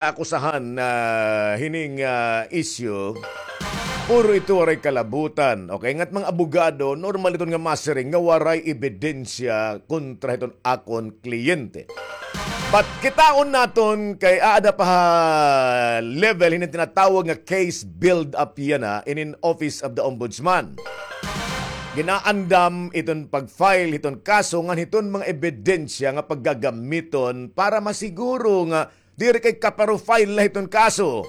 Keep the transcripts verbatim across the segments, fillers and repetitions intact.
akusahan na hining, ah, issue, puro ito waray kalabutan. Okay, ngat mga abogado, normal iton nga masiring nga waray ebidensya kontra hiton akon kliyente. But kitaon naton kay aada pa ha level hinin tinatawag nga case build up yana inin Office of the Ombudsman. Ginaandam iton pag-file hiton kaso ngan hiton mga ebidensya nga paggagamiton para masiguro nga diri kay kaparofile la hiton kaso,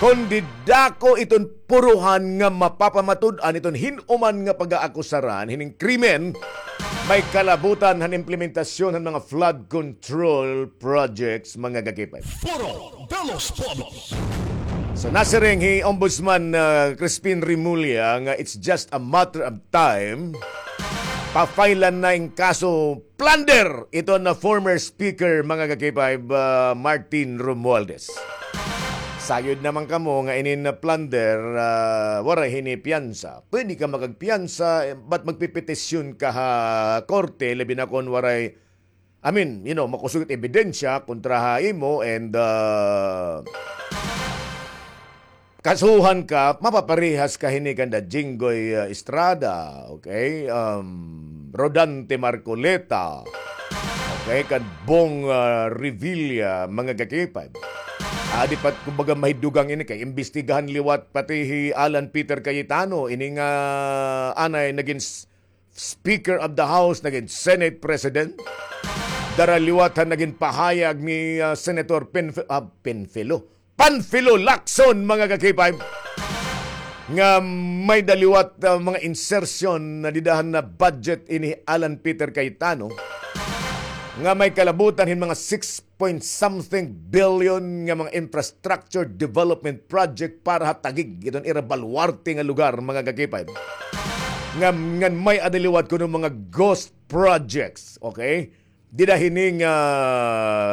kundi dako iton puruhan nga mapapamatud-an iton hin-o man nga pag-aakusaran hining krimen may kalabutan han implementasyon han mga flood control projects, mga gakipay. Foro de los Pueblos. So, nasiring hi Ombudsman, uh, Crispin Remulla nga it's just a matter of time. Pa-file-an na in kaso plunder ito na former speaker, mga gakipay, uh, Martin Romualdez. Sayod naman kamo nga inin na plunder, uh, waray hini piyansa. Pwede ka makagpiyansa, eh, but magpipetisyon ka ha korte, labi na kon waray, I mean, you know, makusog it ebidensya kontra ha imo and, uh, kasuhan ka, mapaparehas ka hini kanda Jinggoy, uh, Estrada, okay? Um, Rodante Marcoleta, okay? Kan Bong, uh, Revilla, mga gakipay. Adi pa, kumbaga, mahidugang ini kay imbestigahan liwat pati hi Alan Peter Cayetano, ini nga anay nagin s-, Speaker of the House, nagin Senate President. Dara liwat han nagin pahayag ni, ah, Senator Penf-, ah, Penfilo. Panfilo Lacson, mga gakipay. Nga may-ada liwat, ah, mga insertion na dida han budget ini Alan Peter Cayetano. Nga may kalabutan hin mga six point something billion nga mga infrastructure development project para ha Taguig, iton ira baluarte nga lugar, mga gakipay. Nga, ngan may-ada liwat kuno mga ghost projects, okay? Dida hini nga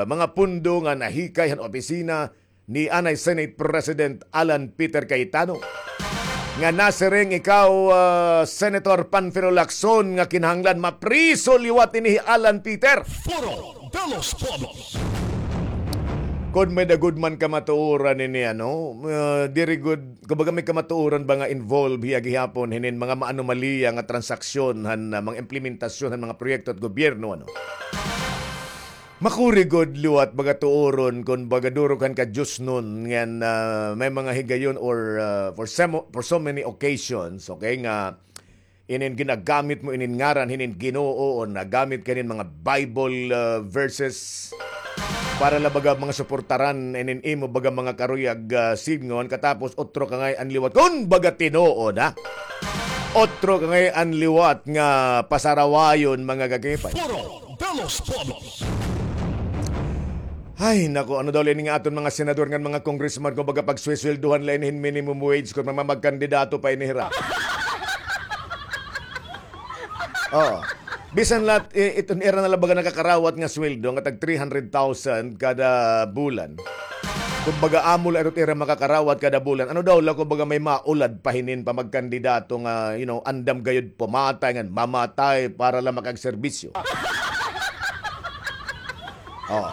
mga pundo nga nahikay han opisina ni anay Senate President Alan Peter Cayetano. Nga nasiring ikaw, ah, Senator Panfilo Lacson, nga kinahanglan mapriso liwat ini hi Alan Peter. Foro de los Pueblos. Kon may-ada gud man kamatuoran ini, ano, ah, diri gud, kumbaga may kamatuoran ba nga involved hiya gihapon hinin mga maanomaliya nga transaksyon han, ah, mga implementasyon han mga proyekto at gobyerno, ano? Makuri gud liwat baga tuoron kon baga durok han kadiosnon ngan, ah, may mga higayon or, ah, for some, for so many occasions, okay, nga inin ginagamit mo inin ngaran hinin Ginoo o nagamit ka hinin mga Bible, ah, verses para la baga mga suportaran inin imo baga mga karuyag, ah, sidngon, katapos otro ka ngay-an liwat kon baga tinuod, ha? Otro ka ngay-an liwat nga pasarawayon, mga gakipay. Foro de los Pueblos. Ay, naku, ano daw la ini nga aton mga senador ngan mga congressman, kon baga pagswisweldohan la ini hin minimum wage kon mamagkandidato pa ini hira. Oo. Bisan la, eh, iton ira na la baga nakakarawat nga sweldo nga tag three hundred thousand kada bulan. Kon baga amo la iton ira makakarawat kada bulan. Ano daw la kon baga may maulad pa hinin pamagkandidato nga, you know, andam gayod pumatay ngan mamatay para la makagserbisyo. Oh.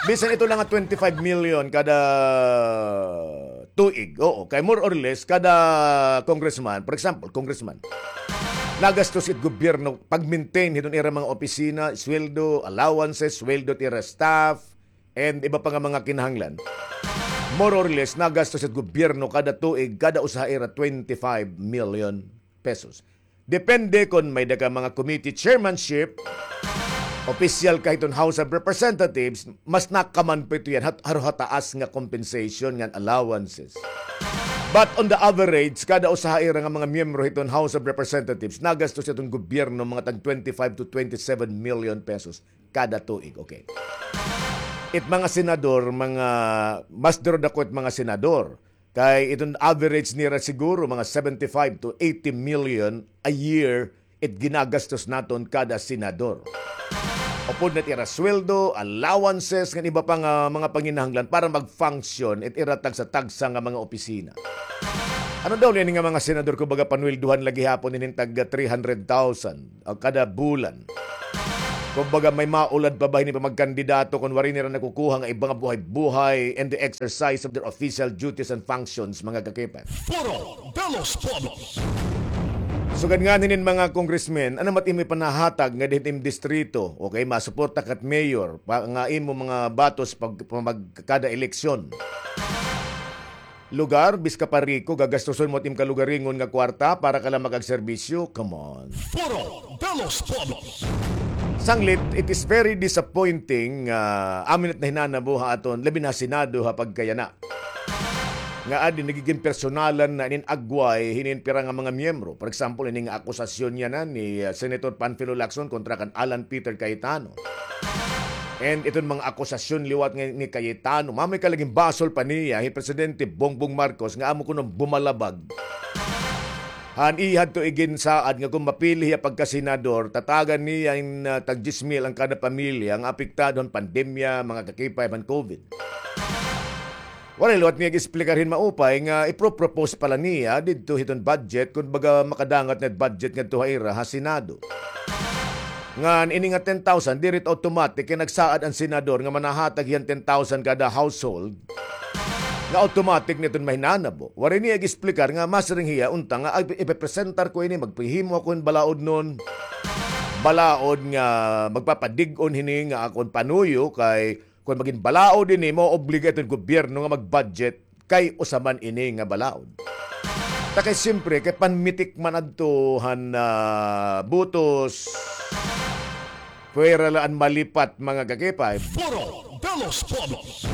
Bisan ito la nga twenty-five million kada tuig. Oo, kay more or less kada congressman, for example, congressman, nagastos it gobyerno pag-maintain hiton ira mga opisina, sweldo, allowances, sweldo it ira staff, and iba pa nga mga kinahanglan. More or less, nagastos it gobyerno kada tuig, kada usa ha ira twenty-five million pesos. Depende kon may-ada ka mga committee chairmanship, opisyal ka hiton House of Representatives, mas nakaman pa ito yan, hat-, haro ha taas nga compensation ngan allowances. But on the average, kada usa ha ira nga mga miyembro hiton House of Representatives, nagastos hiton gobyerno mga tag twenty-five to twenty-seven million pesos kada tuig, okay. It mga senador, mga, mas duro dako it mga senador. Kay iton average nira siguro mga seventy-five to eighty million a year it ginagastos naton kada senador. Upod na it ira sweldo, allowances, ngan iba pa nga mga panginahanglan para mag-function it ira tagsa-tagsa nga mga opisina. Ano daw la ini nga mga senador kon baga panweldohan la gihapon inin tag three hundred thousand, ah, kada bulan? Kumbaga, may maulad pa ba hini pamagkandidato kon waray nira nakukuha nga iba nga buhay-buhay and the exercise of their official duties and functions, mga kakipay? Foro de los Pueblos. Sugad ngani hinin mga congressmen, ano man it imo ipanahatag nga dinhi ha imo distrito, okay, masuporta ka it mayor, pa, nga imo mga batos pag, pag kada eleksyon. Lugar, biska pa riko, gagastuson mo it im kalugaringon nga kwarta para ka la makagserbisyo? Come on. Foro de los Pueblos. Sanglit, it is very disappointing nga amo ini it nahinanabo ha aton, labi na ha Senado, ha pagkayana. Nga adi nagigin personalan na inin agway hinin pira nga mga miyembro. For example, ini nga akusasyon yana ni, uh, Senator Panfilo Lacson kontra kan Alan Peter Cayetano. And iton mga akusasyon liwat nga ni Cayetano, mamay ka lagin basol pa niya hi Presidente Bongbong Marcos nga amo kuno bumalabag. Han iya hadto iginsaad nga kon mapili hiya pagkasenador, tatagan niya in, ah, tag diyes mil an kada pamilya nga apektado han pandemya, mga kakipay, han COVID. Waray liwat niya gi-explicar hin maupay nga ipro-propose pa la niya didto hiton budget, kon baga makadangat nga budget ngadto ha ira ha Senado. Ngan ini nga ten thousand, diri it automatic kay nagsaad an senador nga manahatag hiya hin ten thousand kada household. Nga automatic na iton mahinanabo. Waray niya gi-explicar nga masiring hiya unta nga, "Ay, ipepresentar ko ini, maghihimo ako hin balaod nun." Balaod nga magpapadig-on hini nga akon panuyo kay kon magin balaod ini, maoobliga iton gobyerno nga mag-budget kay usa man ini nga balaod. Ta kay siyempre, kay panmitik man adto han, ah, butos. Pwera la an malipat, mga kakipay. Foro de los Pueblos.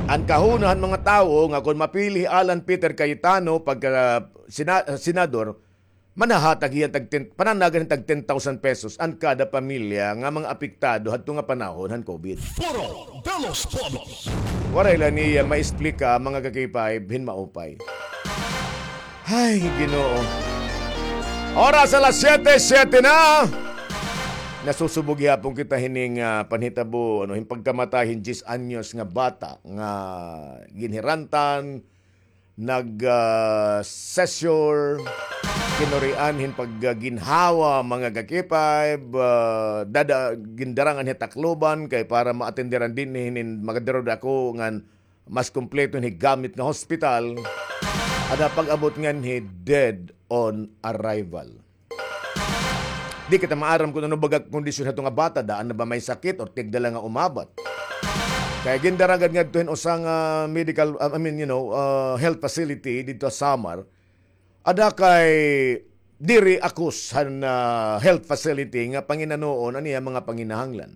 An kahuna han mga tawo nga kon mapili hi Alan Peter Cayetano pagka sina-, senador, manahatag hiya tag ten, pananagan hin tag ten thousand pesos an kada pamilya nga mga apektado hadto nga panahon han COVID. Foro de los Pueblos. Waray la niya maexplika, mga kakipay, hin maupay. Ay, Ginoo. Oras alas siyete, siyete na. Nasusubog gihapon kita hining, ah, panhitabo, ano, hin pagkamatay hin diyes anyos nga bata nga ginhirantan, nag, ah, seizure, kinurian hin pagginhawa, mga kakipay, ah, dada, gindarangan hi Tacloban kay para maatenderan dinhi hinin magdaro dako ngan mas kompleto hin gamit nga hospital. Ada pag-abot nganhi dead on arrival. Di kita maaram kon ano baga kondisyon hadto nga bata, daan na ba may sakit or tigda la nga umabat. Kay gindara gad ngadto hin usa nga medical, I mean, you know, uh, health facility didto ha Samar. Ada kay diri akus han, uh, health facility nga panginanuon an iya mga panginahanglan.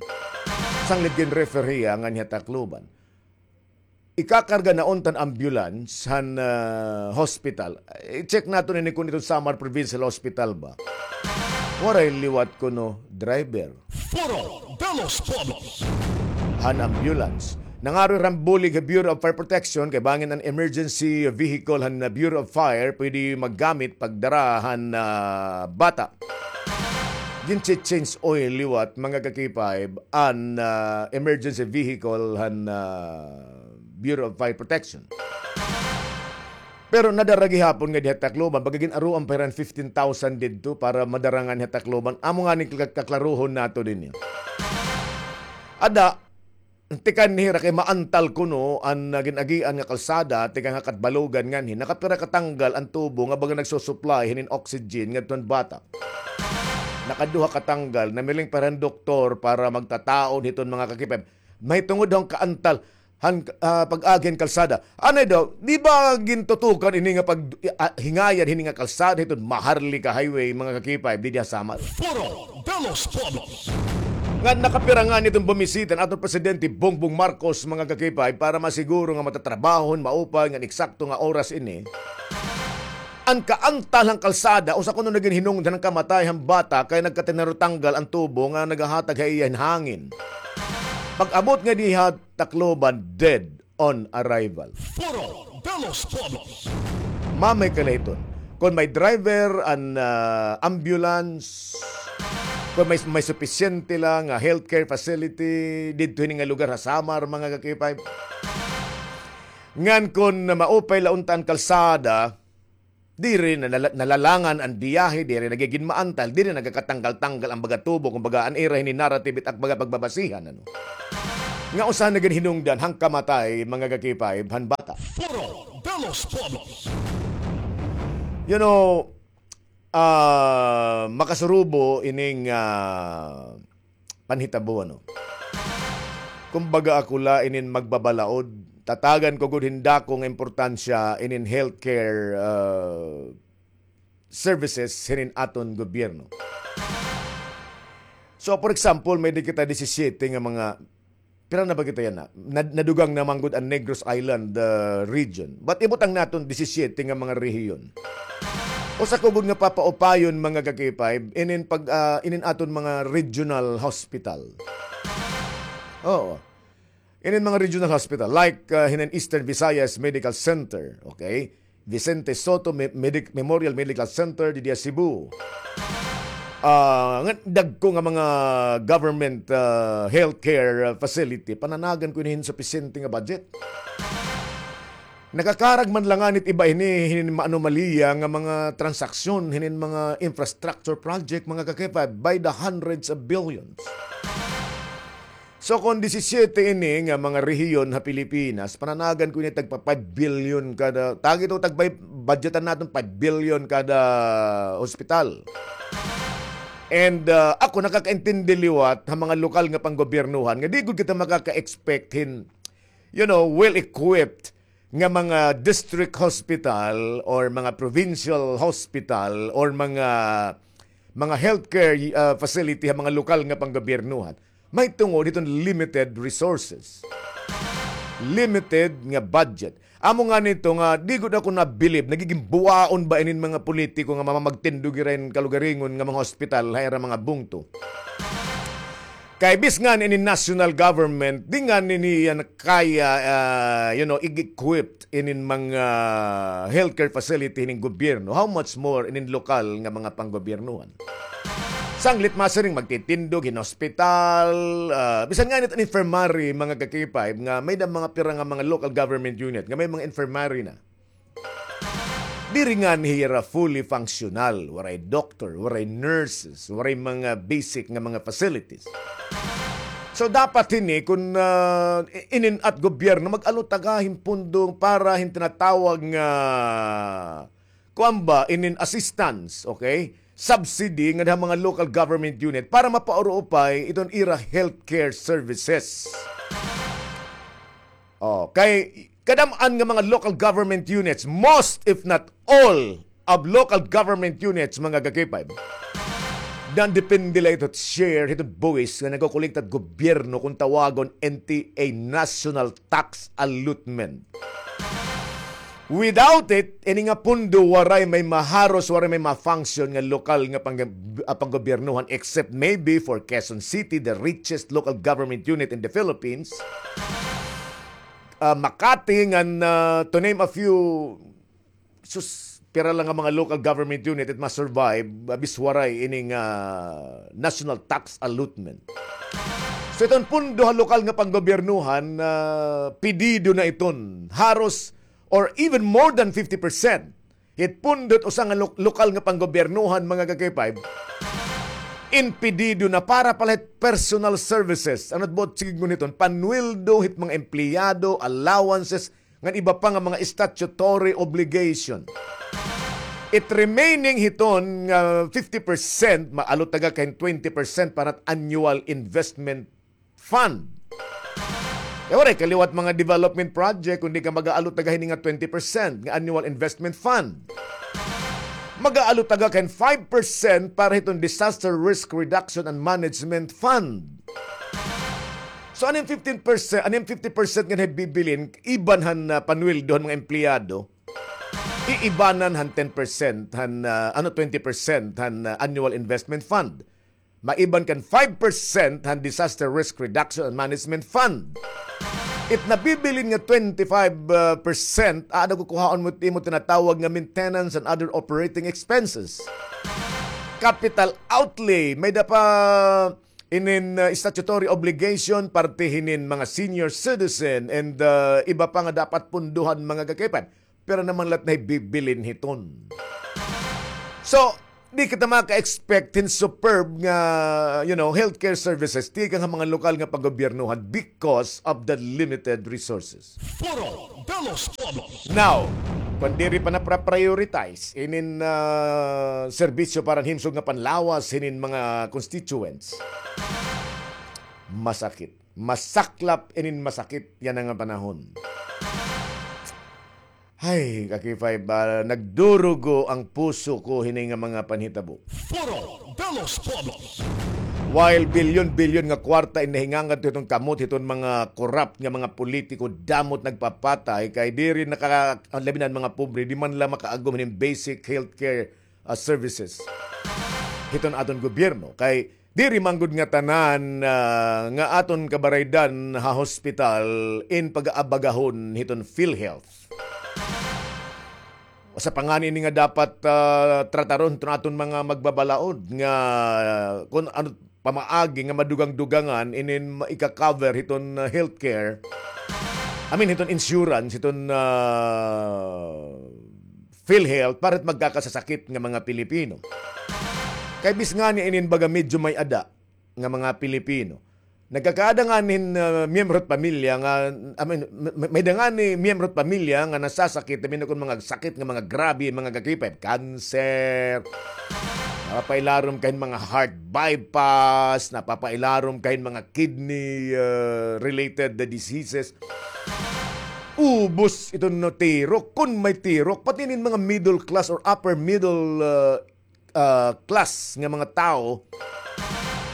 Sanglit gin-refer hiya nganhi ha Tacloban. Ikakarga na unta han ambulance han, ah, hospital. I-check naton ini kon iton Samar Provincial Hospital ba. Waray liwat kuno driver. Foro de los Pueblos. Han ambulance. Nangaroy hira hin bulig ha Bureau of Fire Protection kay bangin an emergency vehicle han, ah, Bureau of Fire pwede maggamit pagdara han, ah, bata. Ginche-change oil liwat, mga kakipay, an, ah, emergency vehicle han, ah, Bureau of Fire Protection. Pero nadara gihapon nga dinhi ha Tacloban, baga gin-aroan pa hira hin fifteen thousand didto para madara nganhi ha Tacloban. Amo ngani ka-, kaklarohon naton ini. Ada, tikang hira kay maantal kuno an, ah, gin-agian nga kalsada, tikang ha Catbalogan nganhi, nakapira ka tanggal an tubo nga baga nagsusupply hinin oxygen ngadto han bata. Nakaduha ka tanggal, namiling pa hira hin doktor para magtataod hiton, mga kakipay. Mahitungod han kaantal han, ah, pag-agi han kalsada. Anay daw, di ba gintutukan ini nga pag, ah, hingayan hini nga kalsada hiton Maharlika Highway, mga kakipay, didi ha Samar? Foro de los Pueblos. Ngan nakapira ngani iton bumisita an aton Presidente Bongbong Marcos, mga kakipay, para masiguro nga matatrabaho hin maupay ngan eksakto nga oras ini. An kaantal han kalsada, usa kuno nagin hinungdan han kamatay han bata kay nagkatinarotanggal an tubo nga nagahatag ha iya hin hangin. Pag-abot ngadi ha Tacloban, dead on arrival. Foro de los Pueblos. Mamay ka la hiton. Kon may driver an, ah, ambulance, kon may, may supisyente la nga healthcare facility didto hini nga lugar ha Samar, mga kakipay. Ngan kon maupay la unta an kalsada, Diri na nala-, nalalangan an biyahe, diri nagigin maantal, diri nagakatanggal-tanggal an baga tubo, kumbaga, an ira hini narrative it ak baga pagbabasihan, ano. Nga usa na gid hinungdan han kamatay, mga ka-K five, han bata. Foro de los Pueblos. You know, ah, makasurubo ining, ah, panhitabo, ano. Kumbaga, ako la inin magbabalaod, tatagan ko gud hin dako nga importansya inin healthcare, ah, services hinin aton gobyerno. So, for example, may-ada kita disisiete nga mga, pira na ba kita yana? Nad-, nadugang na man gud an Negros Island, ah, region. But ibutang naton disisiete nga mga rehiyon. Usa ko gud nga papaupayon, mga ka-K five, inin pag, ah, inin aton mga regional hospital. Oo. Inin mga regional hospital, like, ah, hinin Eastern Visayas Medical Center, okay? Vicente Sotto Me-, Medic-, Memorial Medical Center didi ha Cebu. Ah, nga dagko nga mga government, ah, healthcare, ah, facility, pananagan ko hin supisyente nga budget. Nakakarag man la ngani it iba hini, hinin mga anomalya nga mga transaksyon, hinin mga infrastructure project, mga ka-K five, by the hundreds of billions. So, kon disisiete ini nga mga rehiyon ha Pilipinas, pananagan ko ini tagpa five billion kada, tagi to, tagpa, budgetan naton five billion kada hospital. And, ah, ako nakakaintindi liwat ha mga lokal nga panggobyernohan nga di gud kita makaka-expect hin, you know, well-equipped nga mga district hospital or mga provincial hospital or mga, mga healthcare, ah, facility ha mga lokal nga panggobyernohan. Mahitungod hiton limited resources. Limited nga budget. Amo ngani ito nga, di gud ako nabilib, nagiging buwaon ba inin mga politiko nga mamamagtindog hira hin kalugaringon nga mga hospital ha ira mga bungto. Kay bis ngani ini national government, di ngani niya kaya, ah, you know, i-equip inin mga healthcare facility hinin gobyerno. How much more inin lokal nga mga panggobyernohan? Sanglit masiring magtitindog hin hospital, ah, bisan ngani it infirmary, mga ka-K five, nga may-ada mga pira nga mga local government unit nga may mga infirmary na. Diri ngani hira fully functional, waray doktor, waray nurses, waray mga basic nga mga facilities. So, dapat hini, kun, ah, i-, inin-at gobyerno, mag-alutaga hin pundo para hin tinatawag nga, kuan ba, inin assistance, okay? Subsidy nga ha mga local government unit para mapauruupay iton ira healthcare services. Oh, kay kadam-an nga mga local government units, most if not all of local government units, mga ka-K five, nandepende la ito share, ito buwis nga nagkukulikta it gobyerno kung tawagon N T A, National Tax Allotment. Without it, ini nga pundo waray may maharos, waray may ma-function nga lokal nga pang-, ah, panggobyernohan, except maybe for Quezon City, the richest local government unit in the Philippines. Ah, Makati, ngan, ah, to name a few, sus, pira la nga mga local government unit it ma-survive, ah, bis waray ini nga national tax allotment. So, iton pundo ha lokal nga panggobyernohan, ah, pedido na iton. Haros or even more than fifty percent hit pundo hit usa nga lo-, lokal nga panggobyernohan, mga ka-K five, impedido na para pala hit personal services. Ano it buot signgon hiton? Panweldo hit mga empleyado, allowances, ngan iba pa nga mga statutory obligation. It remaining hiton nga fifty percent, maalutaga ka hin twenty percent para hit annual investment fund. Kay waray ka liwat mga development project, kundi ka mag-aalutaga hini nga twenty percent nga annual investment fund. Mag-aalutaga ka hin five percent para hiton disaster risk reduction and management fund. So, ano it fifteen percent, ano it fifty percent nga bibilin, iban han, ah, panweldo han mga empleyado, iibanan han ten percent han, ah, ano, twenty percent han, ah, annual investment fund. Maiban kan five percent han Disaster Risk Reduction and Management Fund. It nabibilin nga twenty-five percent, aada kukuhaon mo it imo tinatawag nga maintenance and other operating expenses. Capital outlay, may-ada pa inin, uh, statutory obligation, parte hinin mga senior citizen, and, uh, iba pa nga dapat punduhan, mga ka-K five. Pero naman lahat na bibilin hiton. So, di kita maka-expect hin superb nga, you know, healthcare services tikang ha mga lokal nga panggobyernohan because of the limited resources. Foro de los Pueblos. Now, kon diri pa na-prioritize inin, ah, serbisyo para himsog nga panlawas hinin mga constituents, masakit. Masaklap inin masakit yana nga panahon. Hay, ka-K five, ah, nagdurugo ang puso ko hini nga mga panhitabo. Foro de los Pueblos. While bilyon-bilyon nga kwarta in nahingangad hiton kamot hiton mga korap nga mga politiko, damo it nagpapatay, kay diri naka-, labi na an mga pobre, di man la makaagom hinin basic healthcare, ah, services hiton aton gobyerno. Kay diri man gud nga tanan, ah, nga aton kabaraydan ha hospital in pag-aabagahon hiton PhilHealth. Usa pa ngani ini nga dapat, ah, trataron hiton aton mga magbabalaod nga kon ano pamaagi nga madugang-dugangan inin ma-, ika-cover hiton, ah, healthcare. I mean, hiton insurance, hiton, ah, PhilHealth, para hit magkakasasakit nga mga Pilipino. Kay bis ngani inin baga medyo may-ada nga mga Pilipino. Nagkakaada ngani hin, ah, miyembro hit pamilya nga, I mean, may, may-ada ngani miyembro hit pamilya nga nasasakit, I mean, kon mga sakit nga mga grabe, mga ka-K five, cancer, napapailarom kahin mga heart bypass, napapailarom kahin mga kidney, ah, related diseases. Ubos iton tirok, kon may tirok, pati inin mga middle class or upper middle, ah, ah, class nga mga tawo,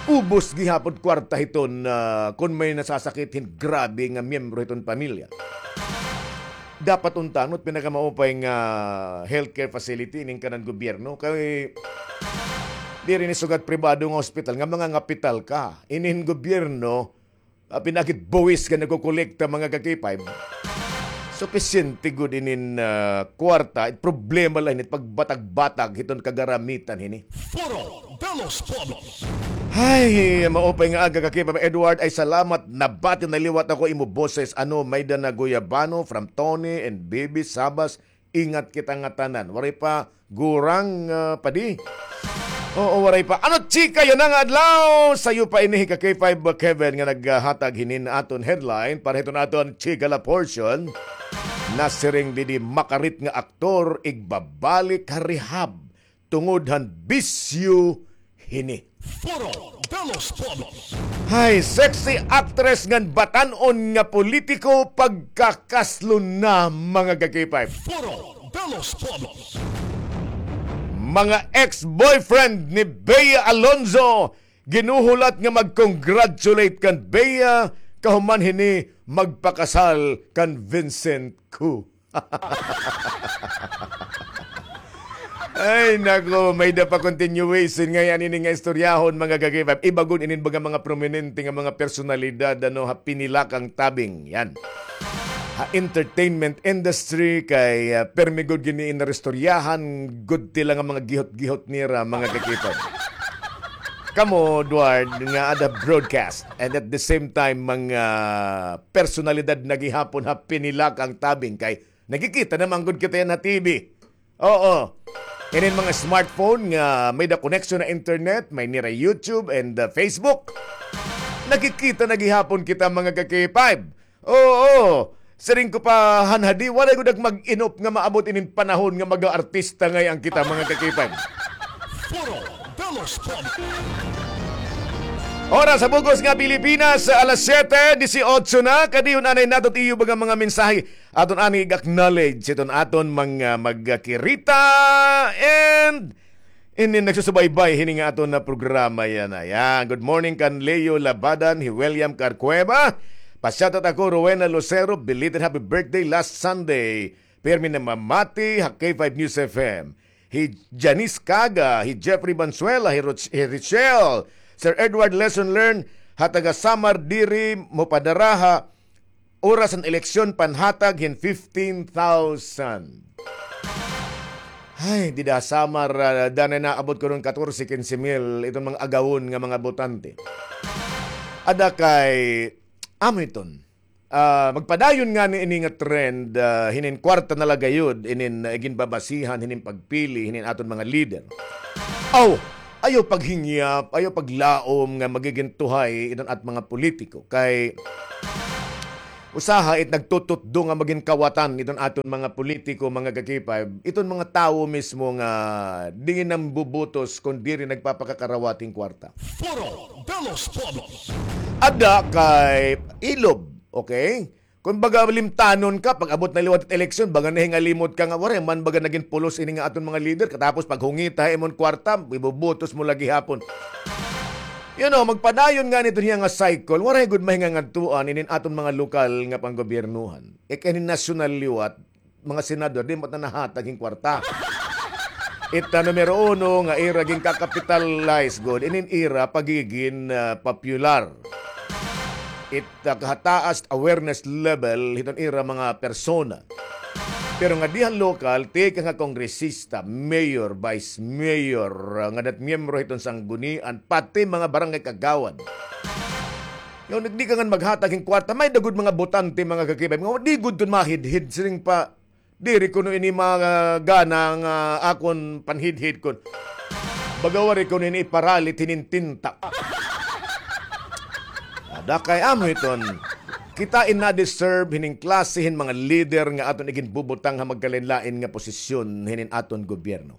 ubos gihapon kwarta hiton, ah, kon may nasasakit hin grabe nga miyembro hiton pamilya. Dapat unta, no, it pinakamaupay nga healthcare facility inin kanan gobyerno, kay diri ini sugad pribado nga ospital nga mangangapital ka. Inin gobyerno, ah, pinakit buwis nga nagkokolekta, mga ka-K five. Supisyente gud inin, ah, kwarta, it problema la hini, it pagbatag-batag hiton kagaramitan hini. Foro de los Pueblos. Hay, maupay nga aga, ka-K five Edward, ay salamat, nabati na liwat ako imo boses. Ano, may-ada na guyabano from Tony and Bibi Sabas. Ingat kita ngatanan. Waray pa gurang, ah, padi? Oo, waray pa. Ano, chika, yana nga adlaw? Sayo pa ini hi ka-K five Kevin nga naghatag hinin aton headline para hiton aton chika la portion. Nasiring didi makarit nga aktor igbabalik ha rehab tungod han bisyo hini. Foro de los Pueblos. Hay, sexy actress ngan batan-on nga politiko pagkakaslo na, mga ka-K five. Foro de los Pueblos. Mga ex-boyfriend ni Bea Alonzo ginuhulat nga mag-congratulate kan Bea kahuman hini magpakasal kan Vincent Ku. Ay, nako, may-ada pa continuation ngay-an ini nga istoryahon, mga ka-K five. Iba gud inin baga mga prominente nga mga personalidad, ano, ha pinilakang tabing. Yan. Ha entertainment industry, kay, ah, permi gud gini in naristoryahan, gud tila nga mga gihot-gihot nira, mga ka-K five. Kamo, Edward, nga ada broadcast, and at the same time, mga personalidad na gihapon ha pinilakang tabing kay nakikita na man gud kita yana ha T V. Oo. Inin mga smartphone nga may-ada connection ha internet, may nira YouTube and, uh, Facebook. Nakikita na gihapon kita, mga ka-K five. Oo. Siring ko pa, hanhadi, waray gud ak mag-inop nga maabot inin panahon nga mag-aartista ngay-an kita, mga ka-K five. Foro de los Pueblos. Oras ha bug-os nga Pilipinas, alas siyete dieciocho na. Kadi-on anay naton iyo baga mga mensahe. Aton anay ig-acknowledge iton aton mga magkirita and inin nagsusubaybay hini nga aton nga programa yana. Yan. Good morning kan Leo Labadan, hi William Carcueva. Pa-shoutout ako, Rowena Lucero, belated happy birthday last Sunday. Pirmi namamati ha K five News F M. Hi Janice Caga, hi Jeffrey Banzuela, hi Roch-, hi Richelle, Sir Edward, lesson learned, ha taga Samar diri mopadara ha oras han eleksyon panhatag hin fifteen thousand. Ay, dida ha Samar, ah, danay naabot kuno hin katorse, kinse mil iton mga agawon nga mga botante. Ada kay, amo iton. Ah, magpadayon ngani ini nga trend, ah, hinin kwarta na la gayod, inin, ah, ginbabasihan, hinin pagpili, hinin aton mga lider. Aw, ayaw paghingyap, ayaw paglaom nga magigin tuhay iton at mga politiko. Kay usaha it nagtututdo nga magin kawatan iton aton mga politiko, mga ka-K five, iton mga tawo mismo nga di nambubutos kun diri nagpapakakarawat hin kwarta. Foro de los Pueblos. Ada kay ilob, okay? Kumbaga, limtanon ka, pag-abot na liwat it eleksyon, baga nahingalimot ka nga, waray man baga nagin pulos ini nga aton mga lider, katapos paghungita ha imon kwarta, ibubutos mo la gihapon. You know, magpadayon ngani iton hiya nga cycle, waray gud mahingangadtuan inin aton mga lokal nga panggobyernohan. E kay hinin nasyonal liwat, mga senador, di man ta nahatag hin kwarta. It, ah, numero uno nga ira ginkakapitalize gud, inin ira pagigin, ah, popular. It, ah, kahataas awareness level hiton ira mga persona. Pero ngadi ha lokal, tikang ha kongresista, mayor, vice mayor, ah, ngada it miyembro hiton sanggunian, pati mga barangay kagawad. Ngan di ka ngan maghatag hin kwarta, may-ada gud mga botante, mga ka-K five, nga di gud iton mahidhid, siring pa, diri kuno ini magana nga akon panhidhid kon baga waray kuno ini iparalit hinin tinta. Ada kay amo hiton. Kita in na-deserve hinin klase hin mga lider nga aton iginbubutang ha magkalain-lain nga posisyon hinin aton gobyerno.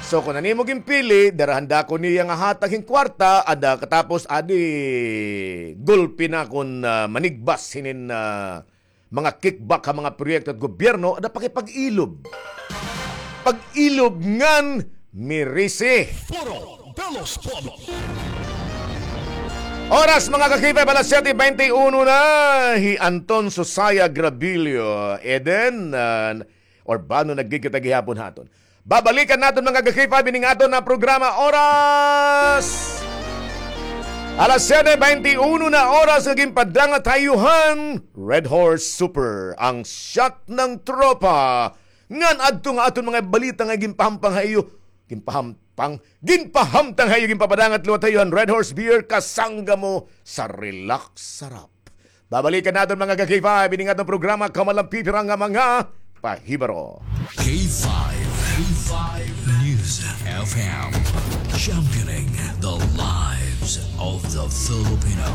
So, kon an imo ginpili, dara han dako niya nga hatag hin kwarta, ada katapos adi gulpi na kon, ah, manigbas hinin, ah, mga kickback ha mga proyekto hit gobyerno, ada pakipag-ilob. Pag-ilob ngan mirisi. Foro de los Pueblos. Oras, mga ka-K five, alas siyete bente uno na. Hi Anton Sosaya Grabillo, Eden, ah, Urbano nagkikita gihapon haton. Babalikan naton, mga ka-K five, ining aton nga programa. Oras, alas siyete bente uno na, oras nga ginpadangat ha iyo han Red Horse Super, ang shot ng tropa. Ngan adto nga aton mga balita nga ginpahampang ha iyo, ginpahampang, ginpahamtang ha iyo, ginpapadangat liwat ha iyo han Red Horse Beer, kasangga mo sa relax sarap. Babalikan naton, mga ka-K five, ining aton programa, Kamalampi Pira nga Mga Pahibaro. K five, K five News F M, championing the lives of the Filipino.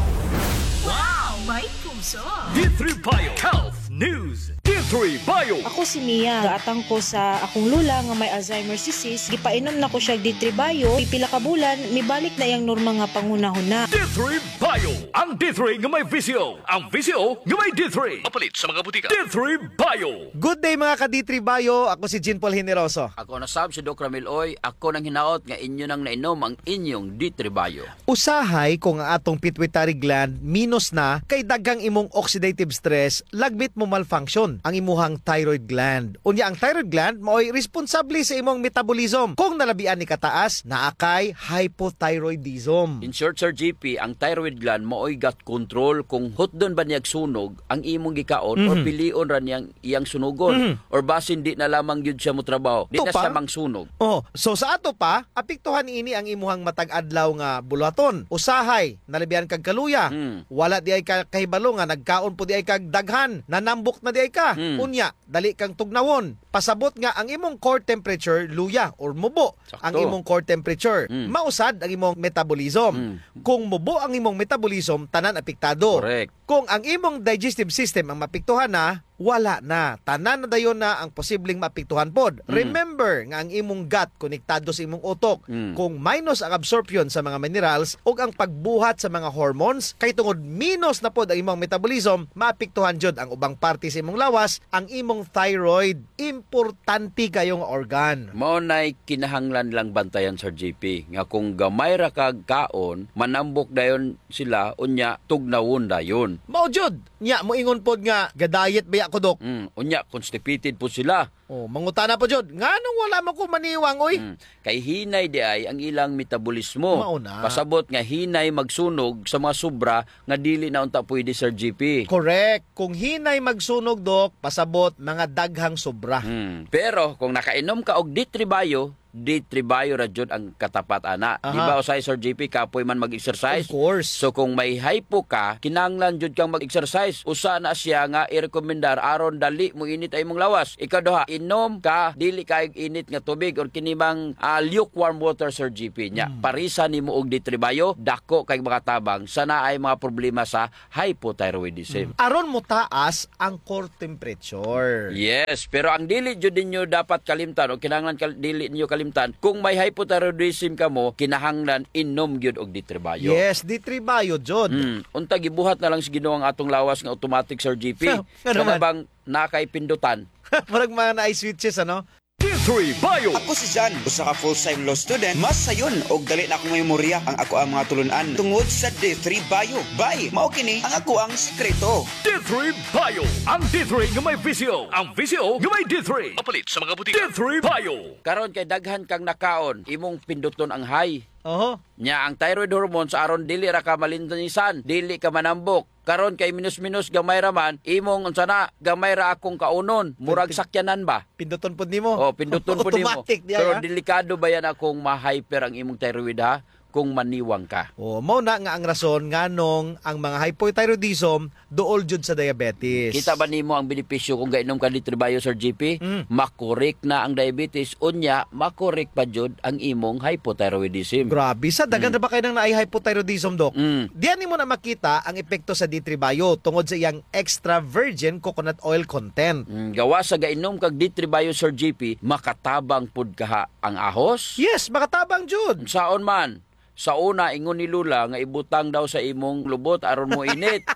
Wow! May puso! D three Bio Health News. D three Bio. Ako si Mia. Gaatang ko sa akong lola nga may Alzheimer's disease. Gipainom na ko siya D three Bio. Pipila ka bulan, mibalik na iyang normal nga panghunahuna. D three Bio. Ang D three nga may V C O. Ang V C O nga may D three. Mapalit sa mga butika. D three Bio. Good day, mga ka-D three Bio. Ako si Jean Paul Generoso. Ako na sab si Doc Ramil Oy. Ako nang hinaot nga inyo nang nainom ang inyong D three Bio. Usahay kung ang atong pituitary gland minus na, kay daghang imong oxidative stress, lagmit mo malfunction ang imuhang thyroid gland. Unya, ang thyroid gland maoy responsable sa imong metabolism. Kung nalabian ni kataas, naa kay hypothyroidism. In short, Sir G P, ang thyroid gland maoy gut control kung hutdon ba niya sunog ang imong gikaon or Mhm. pilion ra niyang iyang sunugon Mhm. or basin di na lamang gyud siya motrabaho, di na siya mangsunog. Oh, so sa ato pa, apektuhan ini ang imuhang matag adlaw nga buluhaton. Usahay, nalabihan kag kaluya. Hmm. Wala di ay ka kahibalo nga nagkaon po di ay kag daghan, nanambok na di ay ka. Hmm. Unya, dali kang tugnawon. Pasabot nga ang imong core temperature luya or mubo ang Sakto. imong core temperature. Hmm. Mausad ang imong metabolism. Hmm. Kung mubo ang imong metabolism, tanan apektado. Correct. Kung ang imong digestive system ang maapektuhan na, wala na. Tanan na dayon na ang posibleng maapektuhan pod. Mm. Remember nga ang imong gut konektado sa imong utok. Mm. Kung minus ang absorption sa mga minerals ug ang pagbuhat sa mga hormones, kay tungod minus na pod ang imong metabolism, maapektuhan jud ang ubang parte sa imong lawas, ang imong thyroid. Importante kayo nga organ. Mao nay kinahanglan lang bantayan, Sir G P, nga kung gamay ra kag kaon, manambok dayon sila, unya tugnawon dayon. Mao jud. Nya, moingon pod nga, "Ga-diet baya ko, Dok." Mm, unya, constipated pod sila. Oh, mangutana pod jud, "Nganong wala man ko maniwang, oy?" Mm, kay hinay di ay ang ilang metabolismo. Mao na. Pasabot nga hinay magsunog sa mga sobra nga dili na unta pwede, Sir G P. Correct. Kung hinay magsunog, Dok, pasabot mga daghang sobra. Mm. Pero kung nakainom ka og D three Bio, D three Bio ra jud ang katapat ana. Di ba, usahay, Sir G P, kapoy man mag-exercise? Of course. So, kung may hypo ka, kinahanglan jud kang mag-exercise. Usa na siya nga irekomendar aron dali moinit ang imong lawas. Ikaduha, inom ka dili kaayo init nga tubig or kini mang, ah, lukewarm water, Sir G P. Nya, parisa nimo og D three Bio, dako kay makatabang sa naay mga problema sa hypothyroidism. Aron motaas ang core temperature. Yes, pero ang dili jud ninyo dapat kalimtan o kinahanglan kal-, dili ninyo kalimtan, kung may hypothyroidism kamo, kinahanglan inom gyud og D three Bio. Yes, D three Bio jud. Hmm. Unta gibuhat na lang sa Ginoo ang atong lawas nga automatic, Sir G P. Ngano man? Kana bang naa kay pindutan? Murag mga naay switches, ano? D three Bio. Ako si Jan, usa ka full-time law student. Mas sayon og dali na akong memorya ang akoang mga tulun-an tungod sa D three Bio. Bay, mao kini ang akoang sekreto. D three Bio. Ang D three nga may V C O. Ang V C O nga may D three. Mapalit sa mga butika. D three Bio. Karon kay daghan kang nakaon, imong pinduton ang high. Oho. Nya ang thyroid hormones aron dili ra ka malinisan, dili ka manambok. Karon kay minus-minus, gamay ra man, imong unsa na, gamay ra akong kaunon, murag sakyanan ba? Pinduton pud nimo. Oh, pinduton pud nimo. Automatic diay. Pero delikado ba yana kung ma-hyper ang imong thyroid, ha? Kung maniwang ka. Oh, mao na nga ang rason nganong ang mga hypothyroidism duol jud sa diabetes. Kita ba nimo ang benepisyo kung gainom ka D three Bio, Sir G P? Mm. Makorek na ang diabetes, unya makorek pa jud ang imong hypothyroidism. Grabe, sa daghan ra ba kay nang naay hypothyroidism, Doc? Mm. Diyan nimo na makita ang epekto sa D three Bio tungod sa iyang extra virgin coconut oil content. Mm, gawas sa gainom kag D three Bio, Sir G P, makatabang pud kaha ang ahos? Yes, makatabang jud. Saon man? Sa una, ingon ni Lola nga ibutang daw sa imong lubot aron moinit.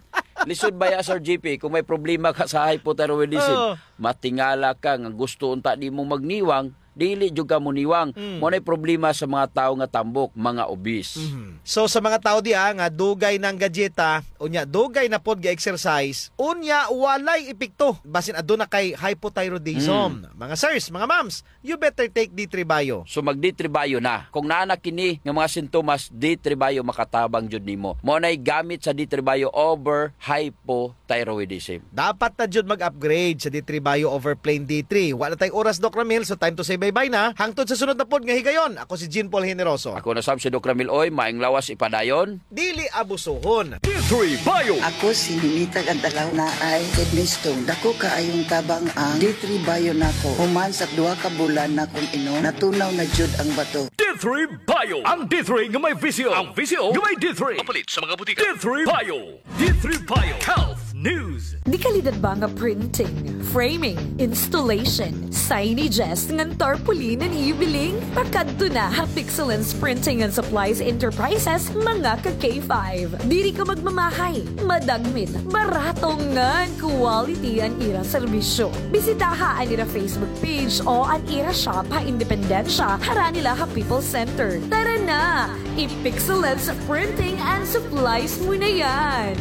Lisod baya, Sir G P, kung may problema ka sa hypothyroidism, matingala ka nga gusto unta nimong magniwang, dili jud ka moniwang. Mao nay problema sa mga tawo nga tambok, mga obese. So, sa mga tawo diha nga dugay nang gadyeta, unya dugay na pod ga-exercise, unya walay epekto, basin aduna kay hypothyroidism. Mga sirs, mga ma'ams, you better take D three Bio. So mag D three Bio na. Kung naa na kini nga mga sintomas, D three Bio makatabang jud nimo. Mao nay gamit sa D three Bio over hypothyroidism. Dapat na jud mag-upgrade sa D three Bio over plain D three. Wala tay oras, Doc Ramil, so time to say bye-bye na. Hangtod sa sunod na pod nga higayon, ako si Jean Paul Generoso. Ako na sab si Doc Ramil Oy, maayong lawas ipadayon. Dili abusohon. D three Bio. Ako si Ninita Cantalaw, naay kidney stone. Dako kaayong tabang ang D three Bio nako. Human sa duha ka bulan nakong inom, natunaw na jud ang bato. D three Bio. Ang D three nga may V C O. Ang V C O nga may D three. Mapalit sa mga butika. D three Bio. D three Bio. Health News. Dekalidad ba nga printing, framing, installation, signages ngan tarpaulin an iyo biling? Pakadto na ha Pixelens Printing and Supplies Enterprises, mga ka K five. Diri ka magmamahay, madagmit, barato ngan quality an ira serbisyo. Bisitaha an ira Facebook page o an ira shop ha Independencia, harani la ha People's Center. Tara na! I-Pixelens Printing and Supplies mo na yan!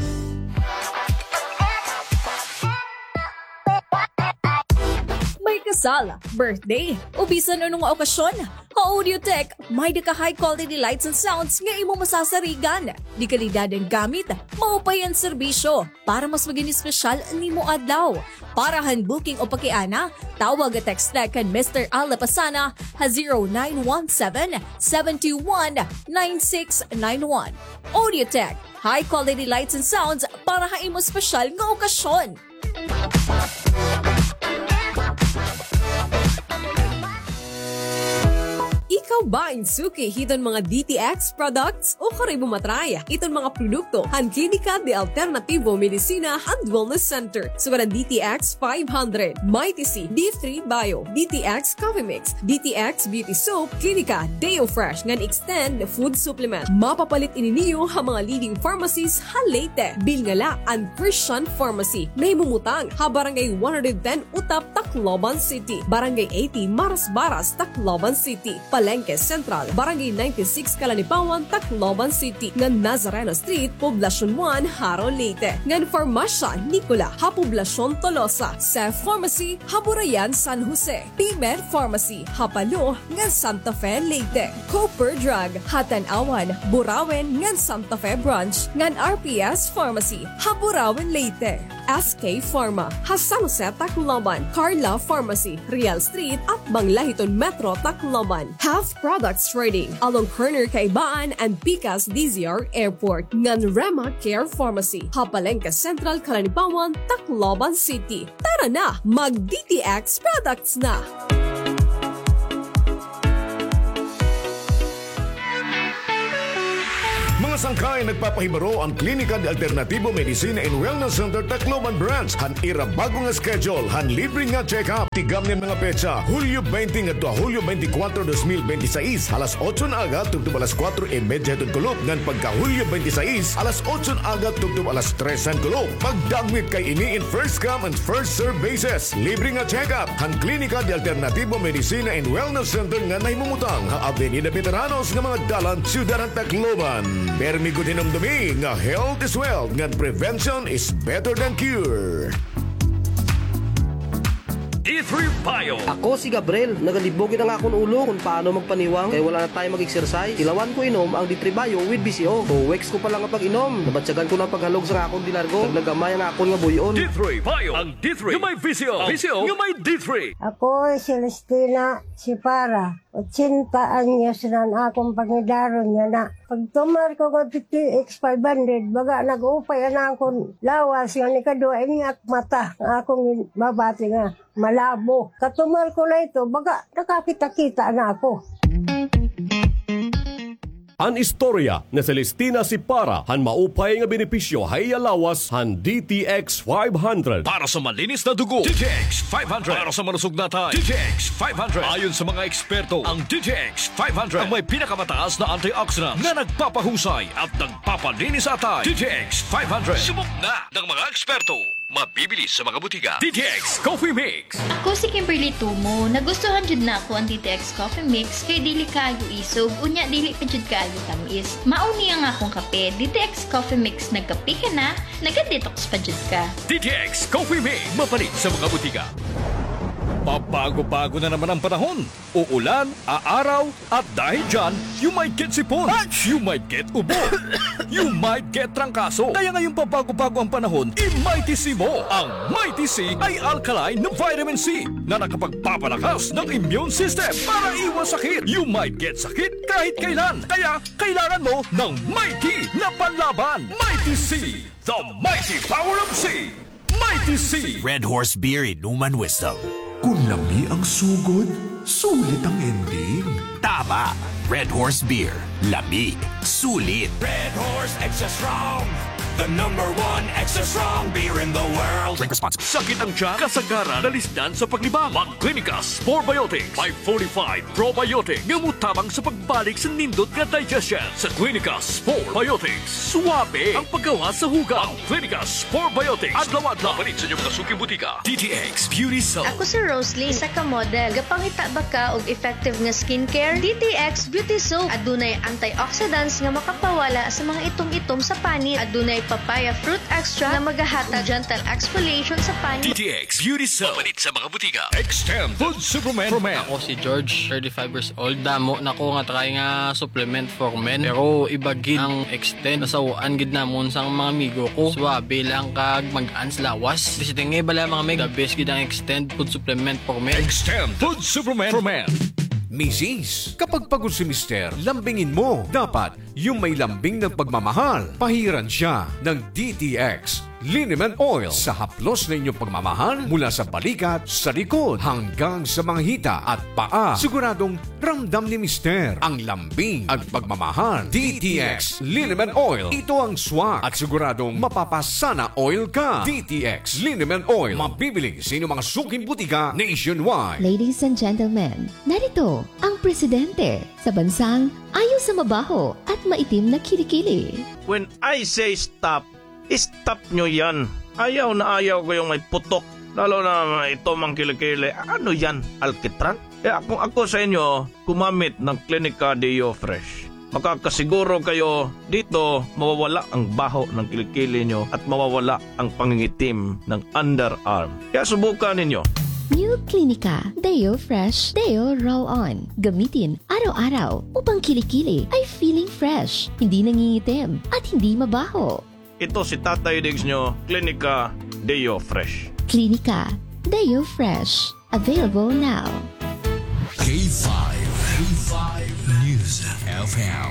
May kasal, birthday, o bisan ano nga okasyon, ha Audiotech, may-ada ka high quality lights and sounds nga imo masasarigan. Dekalidad an gamit, maupay an serbisyo, para mas maging espesyal an imo adlaw. Para han booking o pakiana, tawag o text la kan Mister Al Lapasana ha zero nine one seven, seven two one, nine six nine one. Audiotech, high quality lights and sounds para ha imo espesyal nga okasyon. Ikaw ba in suki hiton mga D T X products? Ukon imo ma-try iton mga produkto han Klinika de Alternativo Medicina and Wellness Center. Sugad an D T X five hundred, Mighty C, D three Bio, D T X Coffee Mix, D T X Beauty Soap, Klinika Deo Fresh ngan Extend Food Supplement. Mapapalit ini niyo ha mga leading pharmacies ha Leyte. Bilnga la an Christian Pharmacy. Nahimumutang ha Barangay one hundred ten Utap, Tacloban City. Barangay eighty Marasbaras, Tacloban City. Palengke Central, Barangay ninety-six Calanipawan, Tacloban City, ngan Nazareno Street, Poblacion one, Jaro, Leyte, ngan Farmasya Nicola ha Poblacion Tolosa, Cef Pharmacy ha Burayan, San Jose, P-Med Pharmacy ha Palo ngan Santa Fe, Leyte, Cooper Drug ha Tanauan, Burauen ngan Santa Fe Branch, ngan R P S Pharmacy ha Burauen, Leyte. S K Pharma, ha San Jose, Tacloban, Carla Pharmacy, Real Street, atbang la hiton Metro, Tacloban, Health Products Trading, along corner Kaibaan and Pikas D Z R Airport, ngan Rema Care Pharmacy, ha Palengke Central, Calanibaon, Tacloban City. Tara na, mag D T X products na! Mga sangkay, nagpapahibaro an Klinika de Alternativo Medicina and Wellness Center Tacloban Branch han ira bag-o nga schedule han libre nga check-up. Tigamni an mga petsa, Hulyo twenty ngadto ha Hulyo twenty-four, dos mil bente seis, alas otso nga aga tubtob alas kuwatro y medya hiton kulop, ngan pagka Hulyo twenty-seis, alas otso nga aga tubtob alas tres han kulop. Pagdagmit kay ini in first come and first serve basis. Libre nga check-up han Klinika de Alternativo Medicina and Wellness Center nga nahimumutang ha Avenida Veteranos nga mga dalan, Syudad han Tacloban. Permi gud hinumdomi nga health is wealth ngan prevention is better than cure. D three Bio. Ako si Gabriel. Nagalibog na an akon ulo kon paano magpaniwang kay wala na time mag-exercise. Ilawan ko inom ang D three Bio with V C O. Two weeks ko pa la nga pag-inom, nabatyagan ko na an paghalog sa akon dinargo. Naglagamay an akon nga buy-on. D three Bio. Ang D three nga may V C O. Ang V C O nga may D three. Ako si Celestina Sipara. Ochenta anyos na an akon pangidaron yana. Pagtumar ko nga D T X five hundred, baga nag-upay an akon lawas nga ikaduha ini ak mata nga akon mabati nga malabo. Katumar ko na ito, baga nakakita-kita na ako. An istorya ni Celestina Sipara han maupay nga benepisyo ha iya lawas han D T X five hundred. Para sa malinis na dugo, D T X five hundred. Para sa malusog na atay, D T X five hundred. Ayon sa mga eksperto, ang D T X five hundred ang may pinakamataas na antioxidants na nagpapahusay at nagpapalinis sa atay. D T X five hundred. Subok na ng mga eksperto. Mabibili sa mga butika. D T X Coffee Mix. Ako si Kimberly Tumo. Nagustuhan jud nako an D T X Coffee Mix kay dili kaayo isog, unya dili pa jud kaayo tamis. Mao ni ang akong kape, D T X Coffee Mix. Nagkape ka na, naga-detox pa jud ka. D T X Coffee Mix, mapalit sa mga butika. Pabago-bago na naman ang panahon. Uulan, aaraw, at dahil dyan, you might get sipon, you might get ubo, you might get trangkaso. Kaya ngayong pabago-bago ang panahon, i-Mighty C mo. Ang Mighty C ay alkaline na vitamin C na nakapagpapalakas ng immune system para iwas sakit. You might get sakit kahit kailan. Kaya kailangan mo ng Mighty na panlaban. Mighty C, the mighty power of C. Mighty C. Red Horse Beer, inuman wisdom. Kon lami ang sugod, sulit ang ending. Tama. Red Horse Beer. Lami. Sulit. Red Horse Extra Strong. The number one extra strong beer in the world. Drink responsibly. Sakit ang tiyan, kasagaran, dalisdan sa paglibang. Mag Clinicas Probiotics. May forty-five probiotic nga motabang sa pagbalik sa nindot nga digestion. Sa Clinicas Probiotics, suwabe ang paggawas sa hugaw. Ang Clinicas Probiotics. Adlaw-adlaw. Mapalit sa inyong mga suking butika. D T X Beauty Soap. Ako si Roslyn, isa ka model. Gapangita ba ka og effective nga skincare? D T X Beauty Soap. Adunay antioxidants nga makapawala sa mga itom-itom sa panit. Adunay papaya fruit extract nga magahatag gentle exfoliation sa panit. D T X Beauty Soap. Mapalit sa mga butika. Extend Food Supplement for Men. Ako si George, thirty-five years old. Damo na ko nga try nga supplement for men. Pero iba gid ang Extend. Nasaw-an gid namon sang mga amigo ko. Suwabe lang kag mag-an sa lawas. Basta nga bala mga meg, the best gid ang Extend Food Supplement for Men. Extend Food Supplement for Men. Misis, kapag pagod si Mister, lambingin mo. Dapat yung may lambing ng pagmamahal. Pahiran siya ng D T X Liniment Oil sa haplos na inyong pagmamahal, mula sa balikat, sa likod, hanggang sa mga hita at paa. Siguradong ramdam ni Mister ang lambing at pagmamahal. D T X Liniment Oil. Ito ang swak at siguradong mapapasana oil ka. D T X Liniment Oil. Mabibili sa inyong mga suking butika nationwide. Ladies and gentlemen, narito ang presidente sa bansang ayaw sa mabaho at maitim na kilikili. When I say stop, stop nyo yan. Ayaw na ayaw ko yung may putok. Lalo na ito mang kilikili. Ano yan? Alkitran? Kaya kung ako sa inyo, gumamit ng Clinica Deo Fresh. Makakasiguro kayo dito mawawala ang baho ng kilikili nyo at mawawala ang pangingitim ng underarm. Kaya subukan ninyo. New Clinica Deo Fresh Deo Roll On. Gamitin araw-araw upang kilikili ay feeling fresh, hindi nangingitim, at hindi mabaho. Ito si Tatay Diggs nyo, Klinika Deo Fresh. Klinika Deo Fresh. Available now. K five, K five News F M,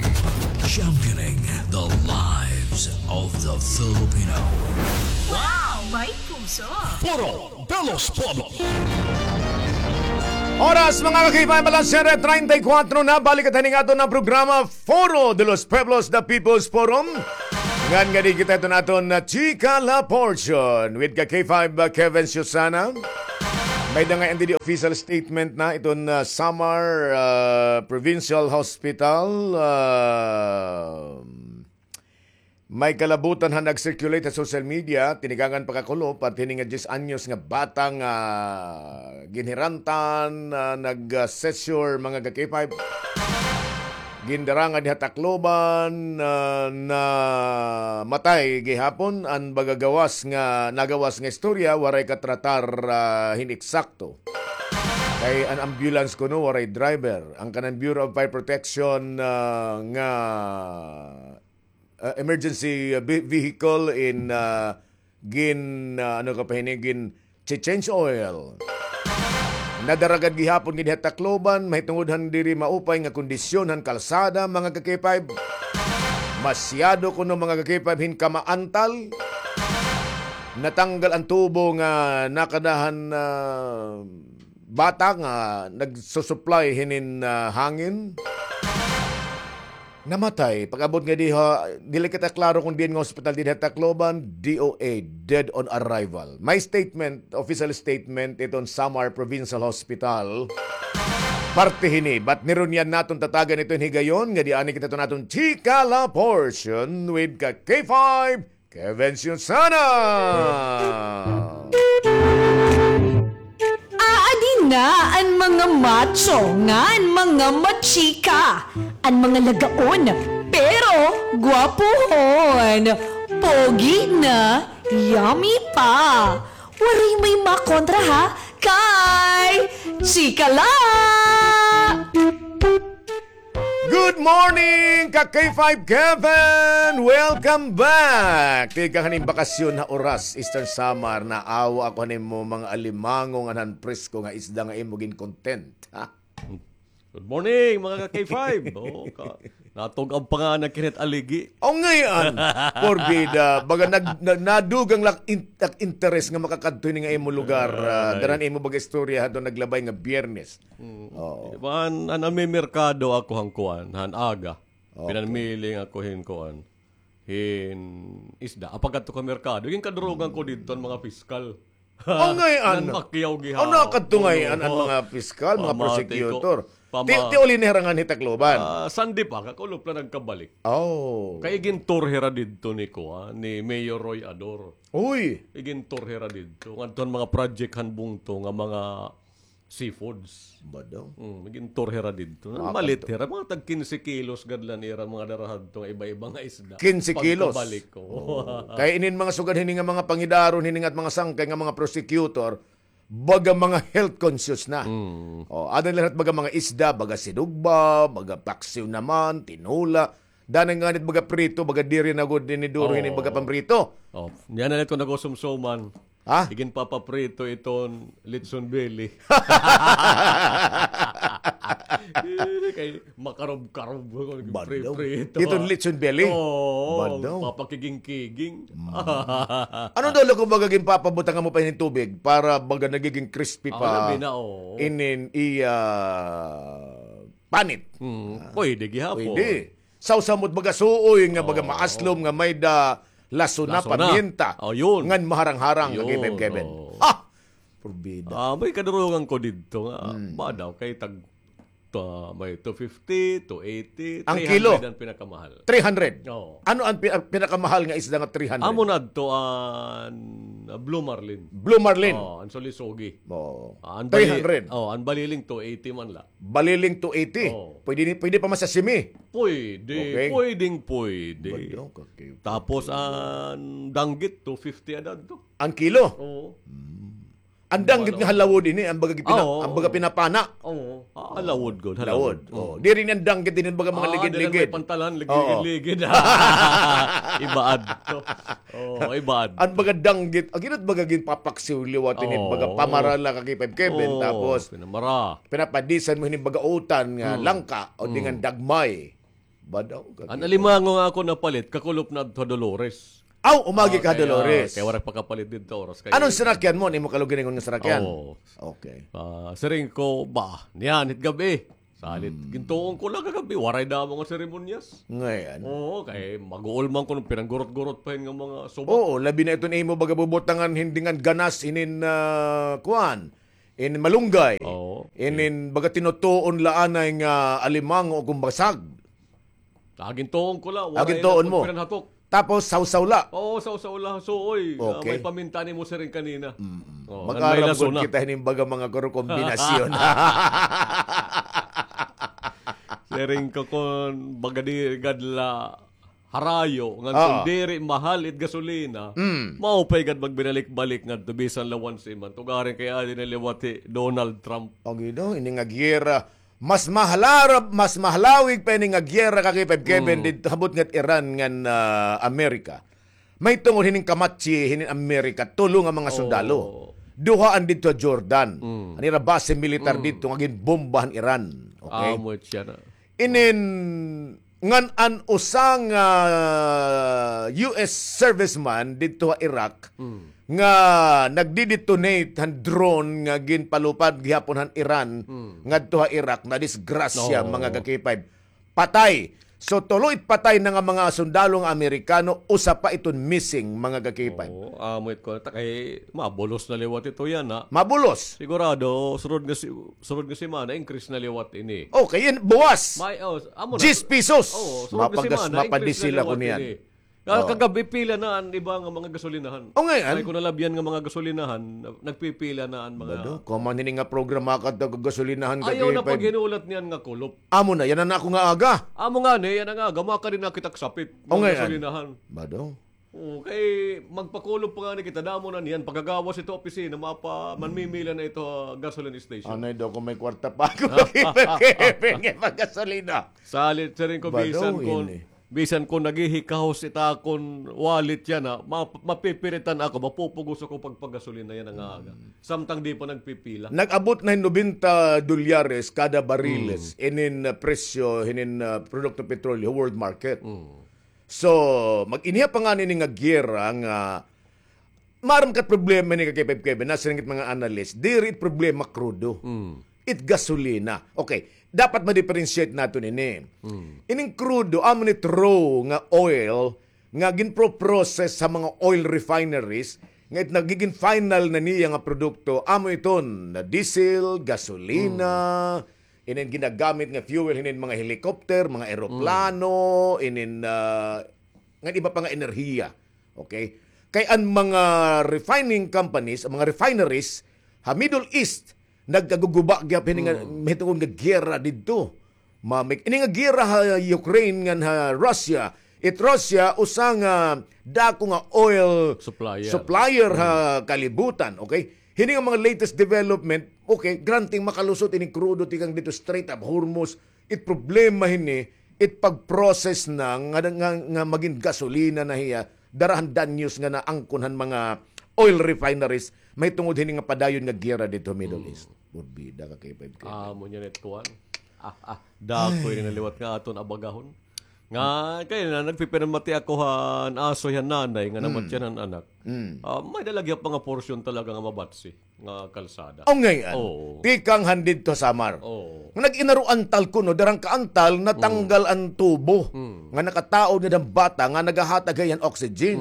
championing the lives of the Filipino. Wow! May puso! Foro de los Pueblos. Oras, mga ka-K five, alas siyete treinta y cuatro na. Balik kita hining aton nga programa, Foro de los Pueblos, The People's Forum. Ngan ngadi kita iton aton nga Chika La Portion with ka-K five, uh, Kevin Susana. May-ada ngay-an didi official statement na iton, uh, Samar, uh, Provincial Hospital, uh, may kalabutan han nag-circulate ha social media, tinikangan pakakulop, at hini nga diyes anyos nga bata nga ginhirantan, ah, nag-seizure, mga ka-K five. Gindara ngadi ha Tacloban, ah, namatay gihapon, an baga gawas nga, nagawas nga istorya, waray katratar, ah, hin eksakto. Kay an ambulance kuno, waray driver. An kanan Bureau of Fire Protection, ah, nga ah, emergency, ah, ve-, vehicle in, ah, gin, ah, ano ka pa hini, gin-change oil. Nadara gad gihapon ngidi ha Tacloban, mahitungod han diri maupay nga kondisyon han kalsada, mga ka-K five. Masyado kuno, mga ka-K five, hin kamaantal. Natanggal an tubo nga nakada han, ah, bata nga nagsusupply hinin, ah, hangin. Namatay. Pag-abot ngadi ha, dili kita klaro kon diin nga hospital didi ha Tacloban, D O A, dead on arrival. May statement, official statement iton Samar Provincial Hospital. Parte hini, but nirunyan naton tatagan iton higayon, ngadi anay kita iton aton Chika La Portion with ka-K five, Kevin Susana. Aadi na an mga macho ngan mga machika, an mga lagaon pero gwapuhon, pogi na, yummy pa. Waray may makontra ha, kay chika la! Good morning, ka-K five Kevin! Welcome back! Tikang haning bakasyon ha Oras, Eastern Samar, naawa ako han imo mga alimango ngan han presko nga isda nga imo gin-content, ha? Good morning, mga ka-K five! Oh, ka, natug-ab pa nga an akon hit aligi. O, ngay-an, porbida, baga nag-, na-, nadugang la ak in-, ak interes nga makakadto hini nga imo lugar, ah, dara han imo baga istorya hadto naglabay nga Biyernes. Mm. Oo. Iban, an, an may merkado ako han kuan, han aga. Okay. Pinanmiling ako hin kuan, hin isda. Apagkadto ko ha merkado, ginkadurugan ko didto an mga piskal. Angay, an. Nan makyaw gihapon. Ano kadto ngay-an an mga piskal, mga prosecutor? Ti, ti uli na hira nganhi Tacloban? Ah, Sunday pa, kakulop la nagkabalik. Oh. Kay igintour hira didto ni kuan, ni Mayor Roy Ador. Uy! Igintour hira didto. Ngadto han mga project han bungto nga mga seafoods. Badaw. Mm, igintour hira didto. Malit hira, mga tag kinse kilos gad la an ira mga dara hadto nga iba-iba nga isda. Kinse kilos? Pagkabalik ko. Oo. Kay inin mga sugad hini nga mga pangidaron, hini nga mga sangkay nga mga prosecutor, baga mga health conscious na. Mm. O, ada nira baga mga isda, baga sinugba, baga paksiw naman, tinola. Dana nga nit baga prito, baga diri na gud ini duro hini baga pamprito. Oh, niyan na nito nagusumsuman. Ha? Iginpapaprito iton litson belly. Kay makarob-karob, badaw, prito. Iton litson belly? Oo, badaw. Papakiging-kiging. Mm. Ano daw la kumbaga ginpapabutang mo pa inin tubig para baga nagiging crispy pa? Labi na, oo. Inin iya panit. Mm, pwede gihapon. Pwede. Sawsaw mo baga suoy nga baga maaslom nga may-ada lasona, pamienta. Oh, yun. Ngan maharang-harang, Kevin, Kevin. Oo. Ah! Porbida. Ah, may kadurugan ko didto nga, badaw kay tag, ta-, may two fifty, two eighty, ang kilo? Three hundred an pinakamahal. Three hundred? Oo. Ano an pi-, an pinakamahal nga isda nga three hundred? Amo na adto an, ah, blue marlin. Blue marlin? Oo, an sulisugi. Oo. Ah, an bali-, three hundred? Oo, an baliling two eighty man la. Baliling two eighty. Oo. Pwede ni, pwede pa masasimi. Pwede. Okay. Pwedeng pwede. Badaw, kakiw. Tapos an danggit, two fifty an adto. An kilo? Oo. Hmm. An danggit nga halawod ini, an baga gipina-, an baga pinapana. Oo. Ah, lawod gud, ha, lawod. Lawod. Oh. Diri niyan danggit, diri baga mga ligid-ligid. Ah, diri may pantalan, ligid-ligid. Iba adto. Oh, iba adto. An baga danggit, agi na it baga ginpapaksiw liwat ini, baga pamarala ka kay Five Kevin, tapos pinamara. Pinapadisan mo hini baga utan nga langka o di nga dagmay. Badaw ka. An alimango nga ako napalit, kakulop na adto ha Dolores. Aw, umagi ka ha Dolores. Kay wala pakapalit didto oras kay. Anong sarakyan mo? Imo kaluginingon nga sarakyan? Oo. Okay. Ah, siring ko, ba, niyan, it gabi. Salit, gintuon ko la kagab-i, waray damo nga seremonyas. Ngay-an. Oo, kay mag-uol man kuno, pinanggurot-gurot pa hin nga mga suba. Oo, labi na iton imo baga bubutangan, hindi nga ganas inin, ah, kuan, inin malunggay. Oo. Inin baga tinutuon la anay nga alimango o kumbasag. Gintuon ko la, waray na ko pinanhatok. Tapos, sawsaw la. Oo, sawsaw la. So, oy, ah, may paminta nimo siring kanina. Oo, mag-arab gud kita hinin baga mga kuro kombinasyon. Siring ko kon baga diri gad la harayo, ngan kon diri mahal it gasolina, maupay gad magbinalik-balik ngadto bisan la once a month. Tugarin kay adi na liwat hi Donald Trump. Agi daw, ini nga giyera, Mas mahalarab, mas mahalawig pa ini nga giyera ka kay Five Kevin didto, habot ngat Iran ngan, ah, Amerika. Mahitungod hinin kamatsi hinin Amerika, tulo nga mga sundalo. Duha an didto ha Jordan. An ira base militar didto nga ginbomba han Iran. Okay? Amo siya na. Inin ngan an usa nga U S serviceman didto ha Iraq nga nagdi-detonate han drone nga ginpalupad gihapon han Iran ngadto ha Iraq, nadisgrasya, mga ka-K five. Patay. So, tulo it patay na nga mga sundalo nga Amerikano, usa pa iton missing, mga ka-K five. Oo, amo it kuan ta kay mabulos na liwat ito yana. Mabulos. Sigurado, sunod nga si-, sunod nga semana, increase na liwat ini. Okay, yan, buwas. May, oh, amo na. Diyes pesos. Oo, sunod nga semana, increase na liwat ini. Kagab-i pila na an iba nga mga gasolinahan. O, ngay-an. May ko nalabyan nga mga gasolinahan, na-, nagpipila na an mga. Bado, kuman hini nga programa kadto gasolinahan. Ayaw na paghinulat niyan nga kulop. Amo na, yana an ako nga aga. Amo ngani, yana nga aga, makadi na kita kasapit. O, ngay-an. Gasolinahan. Bado. Oo, kay magpakulop pa ngani kita, damo na niyan. Pagkagawas ito opisina, mapa-, manmimila na ito, ah, gasoline station. Anay daw kung may kwarta pa ako, kay, kay, kay, kay, paggasolina. Salit, siring ko, bisan kon, bisan kon naghihikahos it akon wallet yana, ma-, mapipiritan ako, mapupugos ako pagpagasolina yana nga aga. Samtang di pa nagpipila. Nag-abot na hin nobenta dolyares kada bariles, inin, ah, presyo, hinin, ah, produkto petrolyo, world market. So, mag-iniha pa ngani ini nga giyera nga, maaram ka it problema ini ka K five Kevin, nasiring it mga analyst, diri it problema krudo. It gasolina. Okay, dapat ma-differentiate naton ini. Ining krudo, amo ni it raw nga oil nga ginpro-process sa mga oil refineries, nga it nagigin final na niya nga produkto, amo iton na diesel, gasolina, inin ginagamit nga fuel hinin mga helicopter, mga eroplano, inin, ah, ngan iba pa nga enerhiya. Okay? Kay an mga refining companies, an mga refineries ha Middle East, nagkaguguba gihap hini nga mahitungod nga giyera didto. Ma-, ini nga giyera ha Ukraine ngan ha Russia, it Russia usa nga dako nga oil supplier ha kalibutan, okay? Hini nga mga latest development, okay, granting makalusot ini krudo tikang didto Strait of Hormuz. It problema hini, it pag-process na nga, nga, nga magin gasolina na hiya, dara han danyos nga naangkon han mga oil refineries, mahitungod hini nga padayon nga giyera didto Middle East. Burbida ka kay Five Kevin. Amo niyan it kuan. Ah, ah, dako ini na liwat nga aton abagahon. Nga, kay na, nagpipinamati ako han asoy han nanay nga namatyan han anak. Ah, may-ada la gihap mga porsyon talaga nga mabatsi nga kalsada. O, ngay-an. Oo. Tikang han didto ha Samar. Oo. Nga nag-inaruantal kuno, dara han kaantal, natanggal an tubo nga nakataod ngada han bata nga nagahatag hiya han oxygen.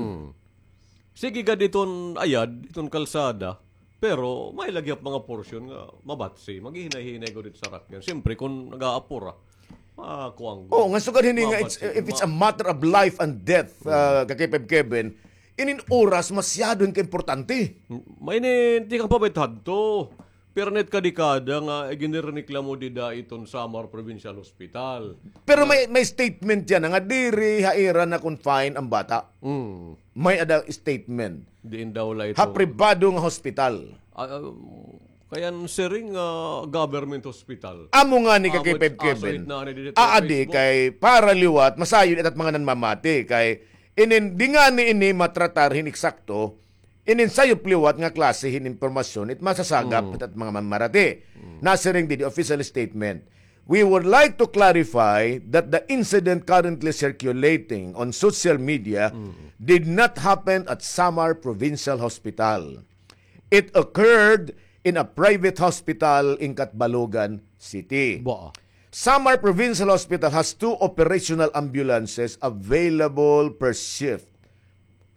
Sige gad iton ayad, iton kalsada, pero may-ada la gihap mga porsyon nga mabatsi, maghihinay-hinay gud it sarakyan. Siyempre, kon nag-aapura, makuan gud. Oo, nga sugad hini nga, it's, if it's a matter of life and death, ah, ka K five Kevin, inin oras masyado hin kaimportante. May inin, tikang pa ba it hadto? Pirnit ka dekada nga iginrereklamo dida iton Samar Provincial Hospital. Pero may, may statement yana nga diri ha ira na-confine an bata. May-ada statement. Diin daw la ito. Ha pribado nga hospital. Ah, ah, Kay an siring, ah, government hospital. Amo ngani, Kagkay Five Kevin. Aadi kay para liwat, masayod it at mga nanmamati. Kay inin, di ngani ini matratar hin eksakto, inin sayop liwat nga klase hin impormasyon, it masasagap it at mga manmarati. Nasiring didi official statement. We would like to clarify that the incident currently circulating on social media did not happen at Samar Provincial Hospital. It occurred in a private hospital in Catbalogan City. Samar Provincial Hospital has two operational ambulances available per shift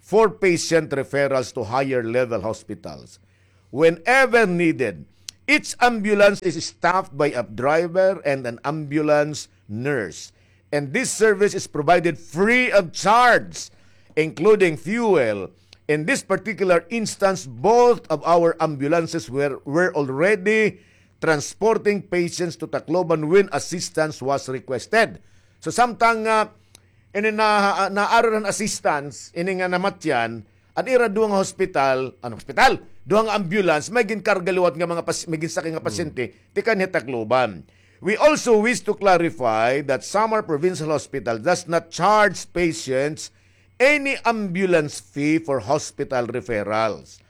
for patient referrals to higher level hospitals. Whenever needed, each ambulance is staffed by a driver and an ambulance nurse. And this service is provided free of charge, including fuel. In this particular instance, both of our ambulances were, were already transporting patients to Tacloban when assistance was requested. So, samtang, ah, ini na, naaron an assistance, ini nga namatyan, an ira duha nga hospital, ano, hospital, duha nga ambulance, may ginkarga liwat nga mga pas-, may ginsakay nga pasyente, tikang ha Tacloban. We also wish to clarify that Samar Provincial Hospital does not charge patients any ambulance fee for hospital referrals.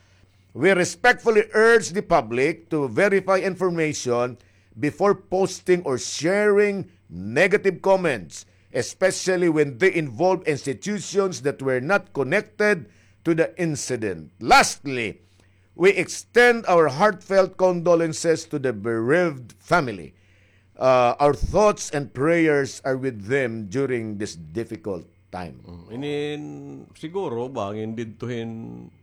We respectfully urge the public to verify information before posting or sharing negative comments, especially when they involve institutions that were not connected to the incident. Lastly, we extend our heartfelt condolences to the bereaved family. Uh, our thoughts and prayers are with them during this difficult time. Mm, inin siguro bangin didto hin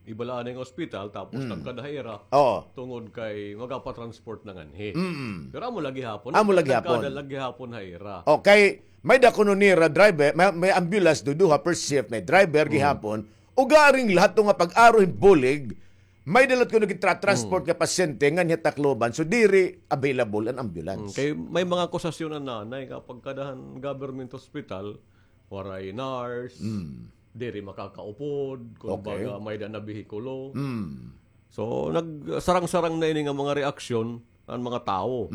iba la anay nga ospital, tapos nagkada ha ira. Oo. Tungod kay magapa-transport na nganhi. Mm. Pero amo la gihapon. Amo la gihapon. Nagkada la gihapon ha ira. Okay, may-ada kuno nira driver, may, may ambulance, duduha per shift, may driver gihapon. Ugaring lahat to nga pag-aro hin bulig, may-ada la kuno gitra-transport nga pasyente nganhi ha Tacloban, so diri available an ambulance. Mm, kay may mga akusasyon an anay nga pagkada han government hospital, waray nurse, diri makakaupod, kumbaga, may-ada na behikulo. So, nagsarang-sarang na ini nga mga reaksyon an mga tawo.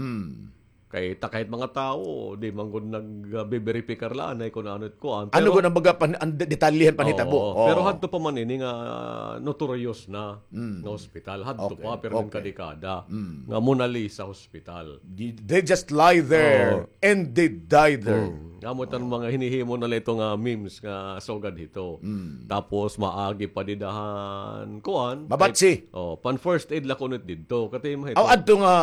Kay ta kahit mga tawo, di man gud nagbe-verify la anay kun ano it kuan. Ano gud an baga pan-, an de-, detalye han panhitabo? Oo. Pero hadto pa man ini nga notorious na nga hospital. Hadto pa, pero nagkadekada. Nga Mona Lisa Hospital. They, they just lie there and they die there. Amo it an mga hinihimo na la ito nga memes nga sugad hito. Tapos maagi pa dida han kuan. Mabatsi. Oh, pan first aid la kuno it didto. Katay mo hito. Aw, adto nga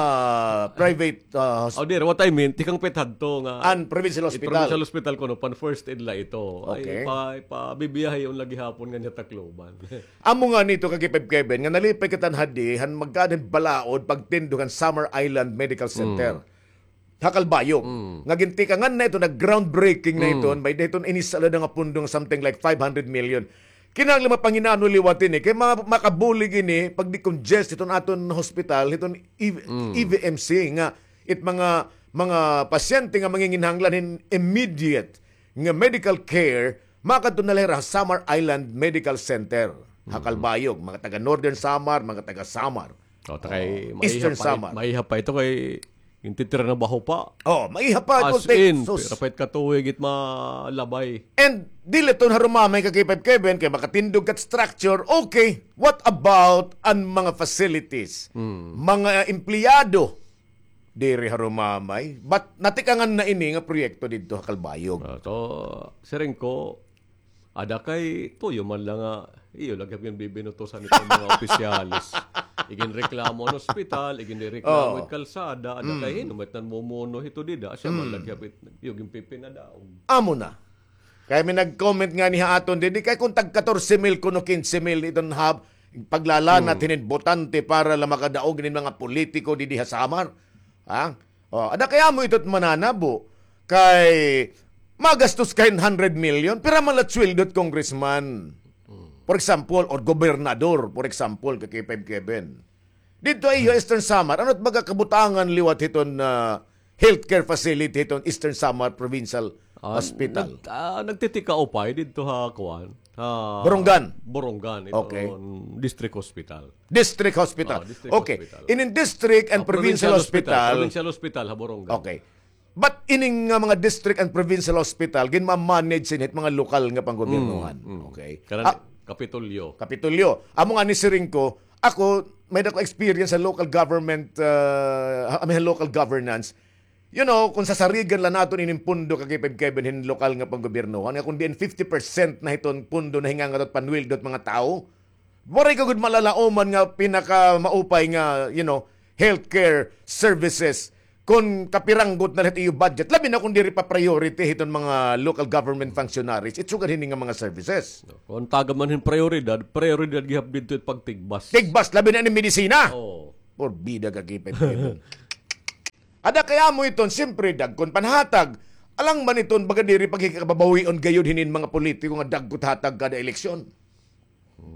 private, ah, hos- Oh, diri, what I mean, tikang pa it hadto nga an provincial hospital. Provincial hospital kuno, pan first aid la ito. Okay. Ay, pa, pabibiyahe la gihapon nganhi ha Tacloban. Amo ngani ito, Kagkay Five Kevin, nga nalipay kita hadi han magkaada hin balaod pagtindog han Samar Island Medical Center ha Calbayog. Nga gintikangan na ito, nag-groundbreaking na ito, may-ada hiton inisa la nga pundo nga something like five hundred million. Kinahanglan mapanginano liwat ini, kay ma-, makabulig ini, pag-decongest hiton aton hospital, hiton E-, E V M C, nga it mga, mga pasyente nga manginginahanglan hin immediate nga medical care, makadto na la hira ha Samar Island Medical Center, ha Calbayog, mga taga Northern Samar, mga taga Samar. Oh, ta kay Eastern Samar. Maiha pa ito kay gintitira na baho pa. Oh, maiha pa. As in, pira pa it katuig it malabay. And dili ito harumamay, Kagkay Five Kevin, kay makatindog ka structure, okay. What about an mga facilities? Mga empleyado? Diri harumamay. But natikangan na ini nga proyekto didto ha Calbayog. Ah, so, siring ko, ada kay tuyo man la nga iyo la gihap ginbibinutusan hito mga opisyales. Iginreklamo an ospital, iginreklamo it kalsada, ada kay hin-o man it namumuno hito dida, asya man la gihap it iyo ginpipinadaog. Amo na. Kay may nag-comment ngani ha aton didi, kay kun tag katorse mil kuno kinse mil iton hab, paglalanat hinin botante para la makadaog hinin mga politiko didi ha Samar. Ha? Oh, ada kay amo ito it mananabo. Kay magastos ka hin hundred million, pira man la sweldo it congressman? For example, or gobernador, for example, Kagkay Five Kevin. Didto ha iyo, Eastern Samar, ano it baga kabutangan liwat hiton, ah, healthcare facility hiton Eastern Samar Provincial Hospital? Nag-, ah, nagtitikaupay didto ha kuan. Ah, Borongan. Borongan, ito Okay. on District Hospital. District Hospital. Oh, District Okay. Hospital. Inin district and Ah, provincial provincial hospital, hospital. provincial hospital ha Borongan. Okay. But ining nga mga district and provincial hospital, ginma-manage sin hit mga lokal nga panggobyernohan. Mm, mm. Okay. Kanan Ah, Kapitolyo. Kapitolyo. Amo nga ni siring ko, ako, may dako experience sa local government, uh, I mean, local governance. You know, kung sasarigan la naton inin pundo ka K five Kevin hin lokal nga panggobyernohan, nga kung diin fifty percent na hiton pundo na hingangatot panwildot mga tao, waray ka gud malalaoman nga pinakamaupay nga, you know, healthcare services. Kung kapiranggot na la hit iyo budget, labi na kung diri pa priority hiton mga local government functionaries, it sugad hini nga mga services. Kung taga man hin prioridad, prioridad gihap didto it pagtigbas. Tigbas, labi na ini medisina. Oo. Porbida ka K five Kevin. Ada kay amo iton, siyempre, dagkon panhatag. Alang man iton, baga diri paghikababawion gayud hinin mga politiko nga dagkot hatag kada eleksyon.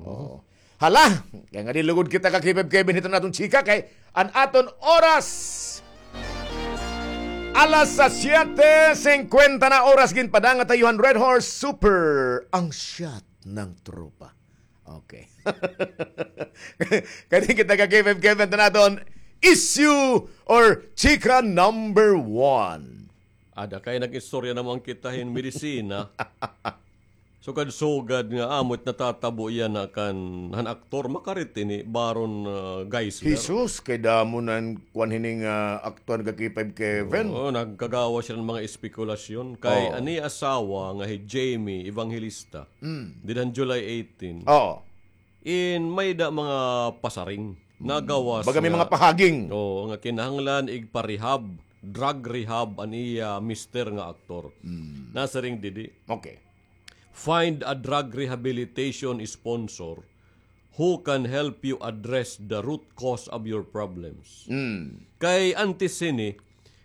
Oo. Hala, kay nga dilugod kita ka K five Kevin hiton aton chika kay an aton oras. Alas sa siyete singkwenta na oras ginpadangat ha iyo han Red Horse Super, ang shot ng tropa. Okay. Kani kita ka K five Kevin tan aton issue or chika number one. Ada kay nag-istorya naman kita hin medisina. Sugad-sugad nga amo it natatabo yana kan han aktor makarit ini Baron, ah, Geisler. Jesus, kay damo nan kuan hini nga aktor nga K five Kevin. Oo, nagkagawas siya ng mga espekulasyon. Kay Oo. an iya asawa nga hi Jamie Evangelista, Mm. didto han July eighteen. Oo. In may da mga pasaring. Mm. Nagawas Baga may nga mga pahaging. Oo, nga kinahanglan igpa-rehab, drug rehab an iya mister nga aktor. Mm. Nasiring didi. Okay. Find a drug rehabilitation sponsor who can help you address the root cause of your problems. Mm. Kay antes hini,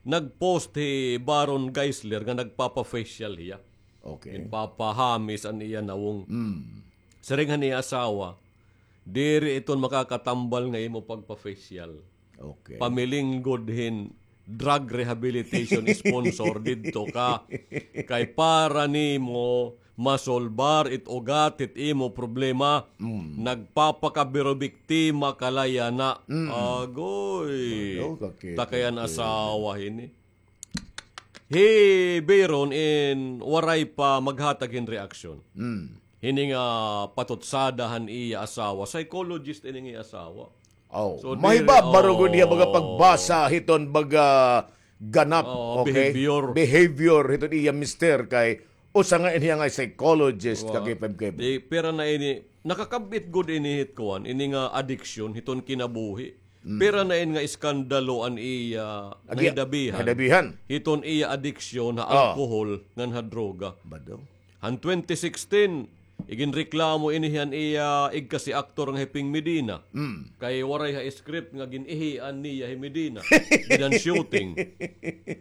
nag-post hi Baron Geisler nga nagpapa-facial hiya. Okay. Ginpapahamis an iya nawong. Mm. Siring han iya asawa, diri iton makakatambal nga imo pagpa-facial. Okay. Pamiling gud hin drug rehabilitation sponsor didto ka. Kay para nimo masolbar it ugat it imo problema, Mm. nagpapakabirobiktima ka la yana. Mm. Agoy. Ano, kakita Takay an ko. asawa hini. Hi Baron in waray pa maghatag hin reaksyon. Mm. Hini nga patutsada han iya asawa. Psychologist ini nga iya asawa. Oh, So, mahibabaro diri, gud hiya baga oh. pagbasa hiton baga ganap, Oh, okay? behavior. Behavior hiton iya mister kay usa nga ini nga psychologist Wa-, ka K five Kevin. Di, pira na ini, nakakabit gud ini hit kuan, ini nga addiction hiton kinabuhi. Mm. Pira na ini nga iskandalo an iya Agi-, nahidabihan. nahidabihan. Hiton iya addiction ha Ah. alcohol ngan ha droga. Bado. Han twenty sixteen, iginreklamo ini han iya igkasi aktor nga hi Ping Medina. Mm. Kay waray ha script nga gin-ihian niya hi Medina. Didto han shooting.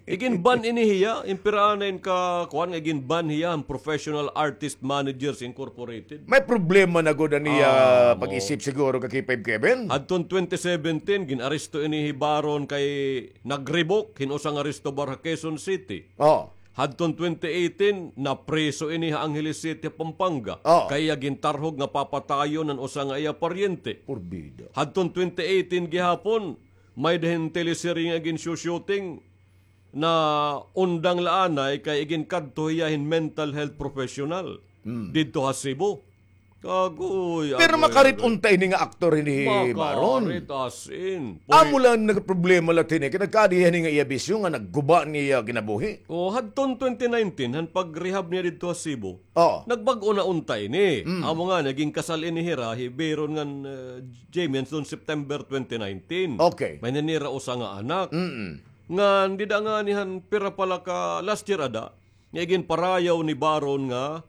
Igin-ban ini hiya, impiraan na in ka, kuan nga igin-ban hiya han Professional Artist Managers Incorporated. May problema na gud an iya Ah, mo. pag-isip siguro ka K five Kevin. Hadton twenty seventeen, gin-aresto ini hi Baron kay nag-revoke hin usa nga resto bar ha Quezon City. Oh. Hadton twenty eighteen, napriso ini ha Angeles City, Pampanga. Oh. Kay iya gintarhog nga papatayon an usa nga iya paryente. Porbida. Hadton twenty eighteen gihapon, may-ada hin teleserye nga gin-shooting na undang la anay kay iginkadto hiya hin mental health professional Mm. didto ha Cebu. Agoy, Pero agoy, makarit agoy. unta ini nga aktor ini hi Baron. Makarit, as in. Amo Pwede. lang nagproblema la hini, kay nagkaadi hini nga iya bisyo nga nagguba niya kinabuhi. O, hadton twenty nineteen, han pag-rehab niya didto ha Cebu, Oh. nagbag-o na unta ini. Mm. Amo nga, naging kasal ini hira, hi Baron ngan, eh, Jamie, hadton September twenty nineteen. Okay. May-ada hira usa nga anak. Mm-mm. Ngan, dida ngani han pira pa la ka last year ada, nga iginparayaw ni Baron nga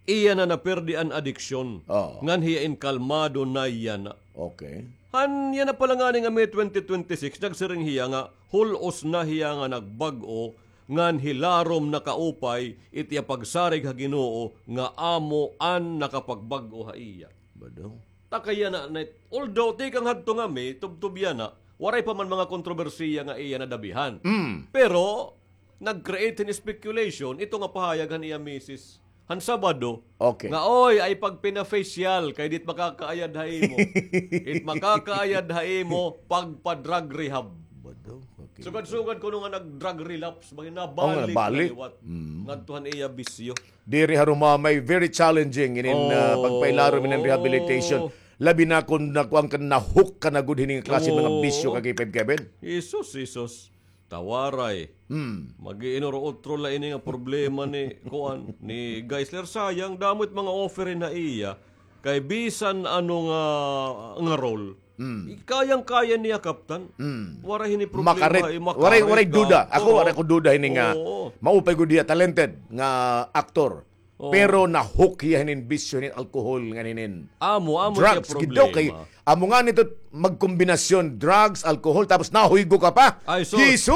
iya na napirdi an adiksyon. Oo. Ngan hiya in kalmado na yana. Okay. Han yana pa la ngani nga May twenty twenty-six, nagsiring hiya nga hul-os na hiya nga nagbag-o, ngan hilarom na kaupay it iya pagsarig ha Ginoo nga amo an nakapagbag-o ha iya. Bado. Takay yana na, although tikang hadto nga May, tubtob yana, waray pa man mga kontrobersiya nga iya nadabihan. Mm. Pero, nag-create hin speculation ito nga pahayag han iya misis han Sabado, okay, nga, "Oy, ay pagpina-facial, kay dit makakaayad ha imo. It makakaayad ha imo, pagpa-drug rehab." Bado, okay. Sugad-sugad kuno nga nag-drug relapse, bangin nabalik na liwat. Mm. Ngadto han iya bisyo. Diri ha Rumamay, very challenging inin, ah, pagpailarom inin rehabilitation. Labi na kon nakuan ka, na-hook ka na gud hini nga klase mga bisyo, ka K five Kevin. Jesus, Jesus. Tawaray. Hmm. Mag-iinuro otro la ini nga problema ni, kuan, ni Geisler. Sayang, damo it mga offer hin ha iya. Kay bisan ano nga, nga role, hmm, kayang-kaya niya, Kaptan. Hmm. Waray hini problema, makarit. Waray, waray duda. Ako, waray ko duda hini nga maupay gud hiya, talented nga aktor. Oo. Pero na-hook hiya hinin bisyo, hinin alcohol, ngan hinin drugs. Amo, amo it iya problema. Amo ngani ito, magkombinasyon, drugs, alcohol, tapos nahuygo ka pa. Ay, sus. Jesus!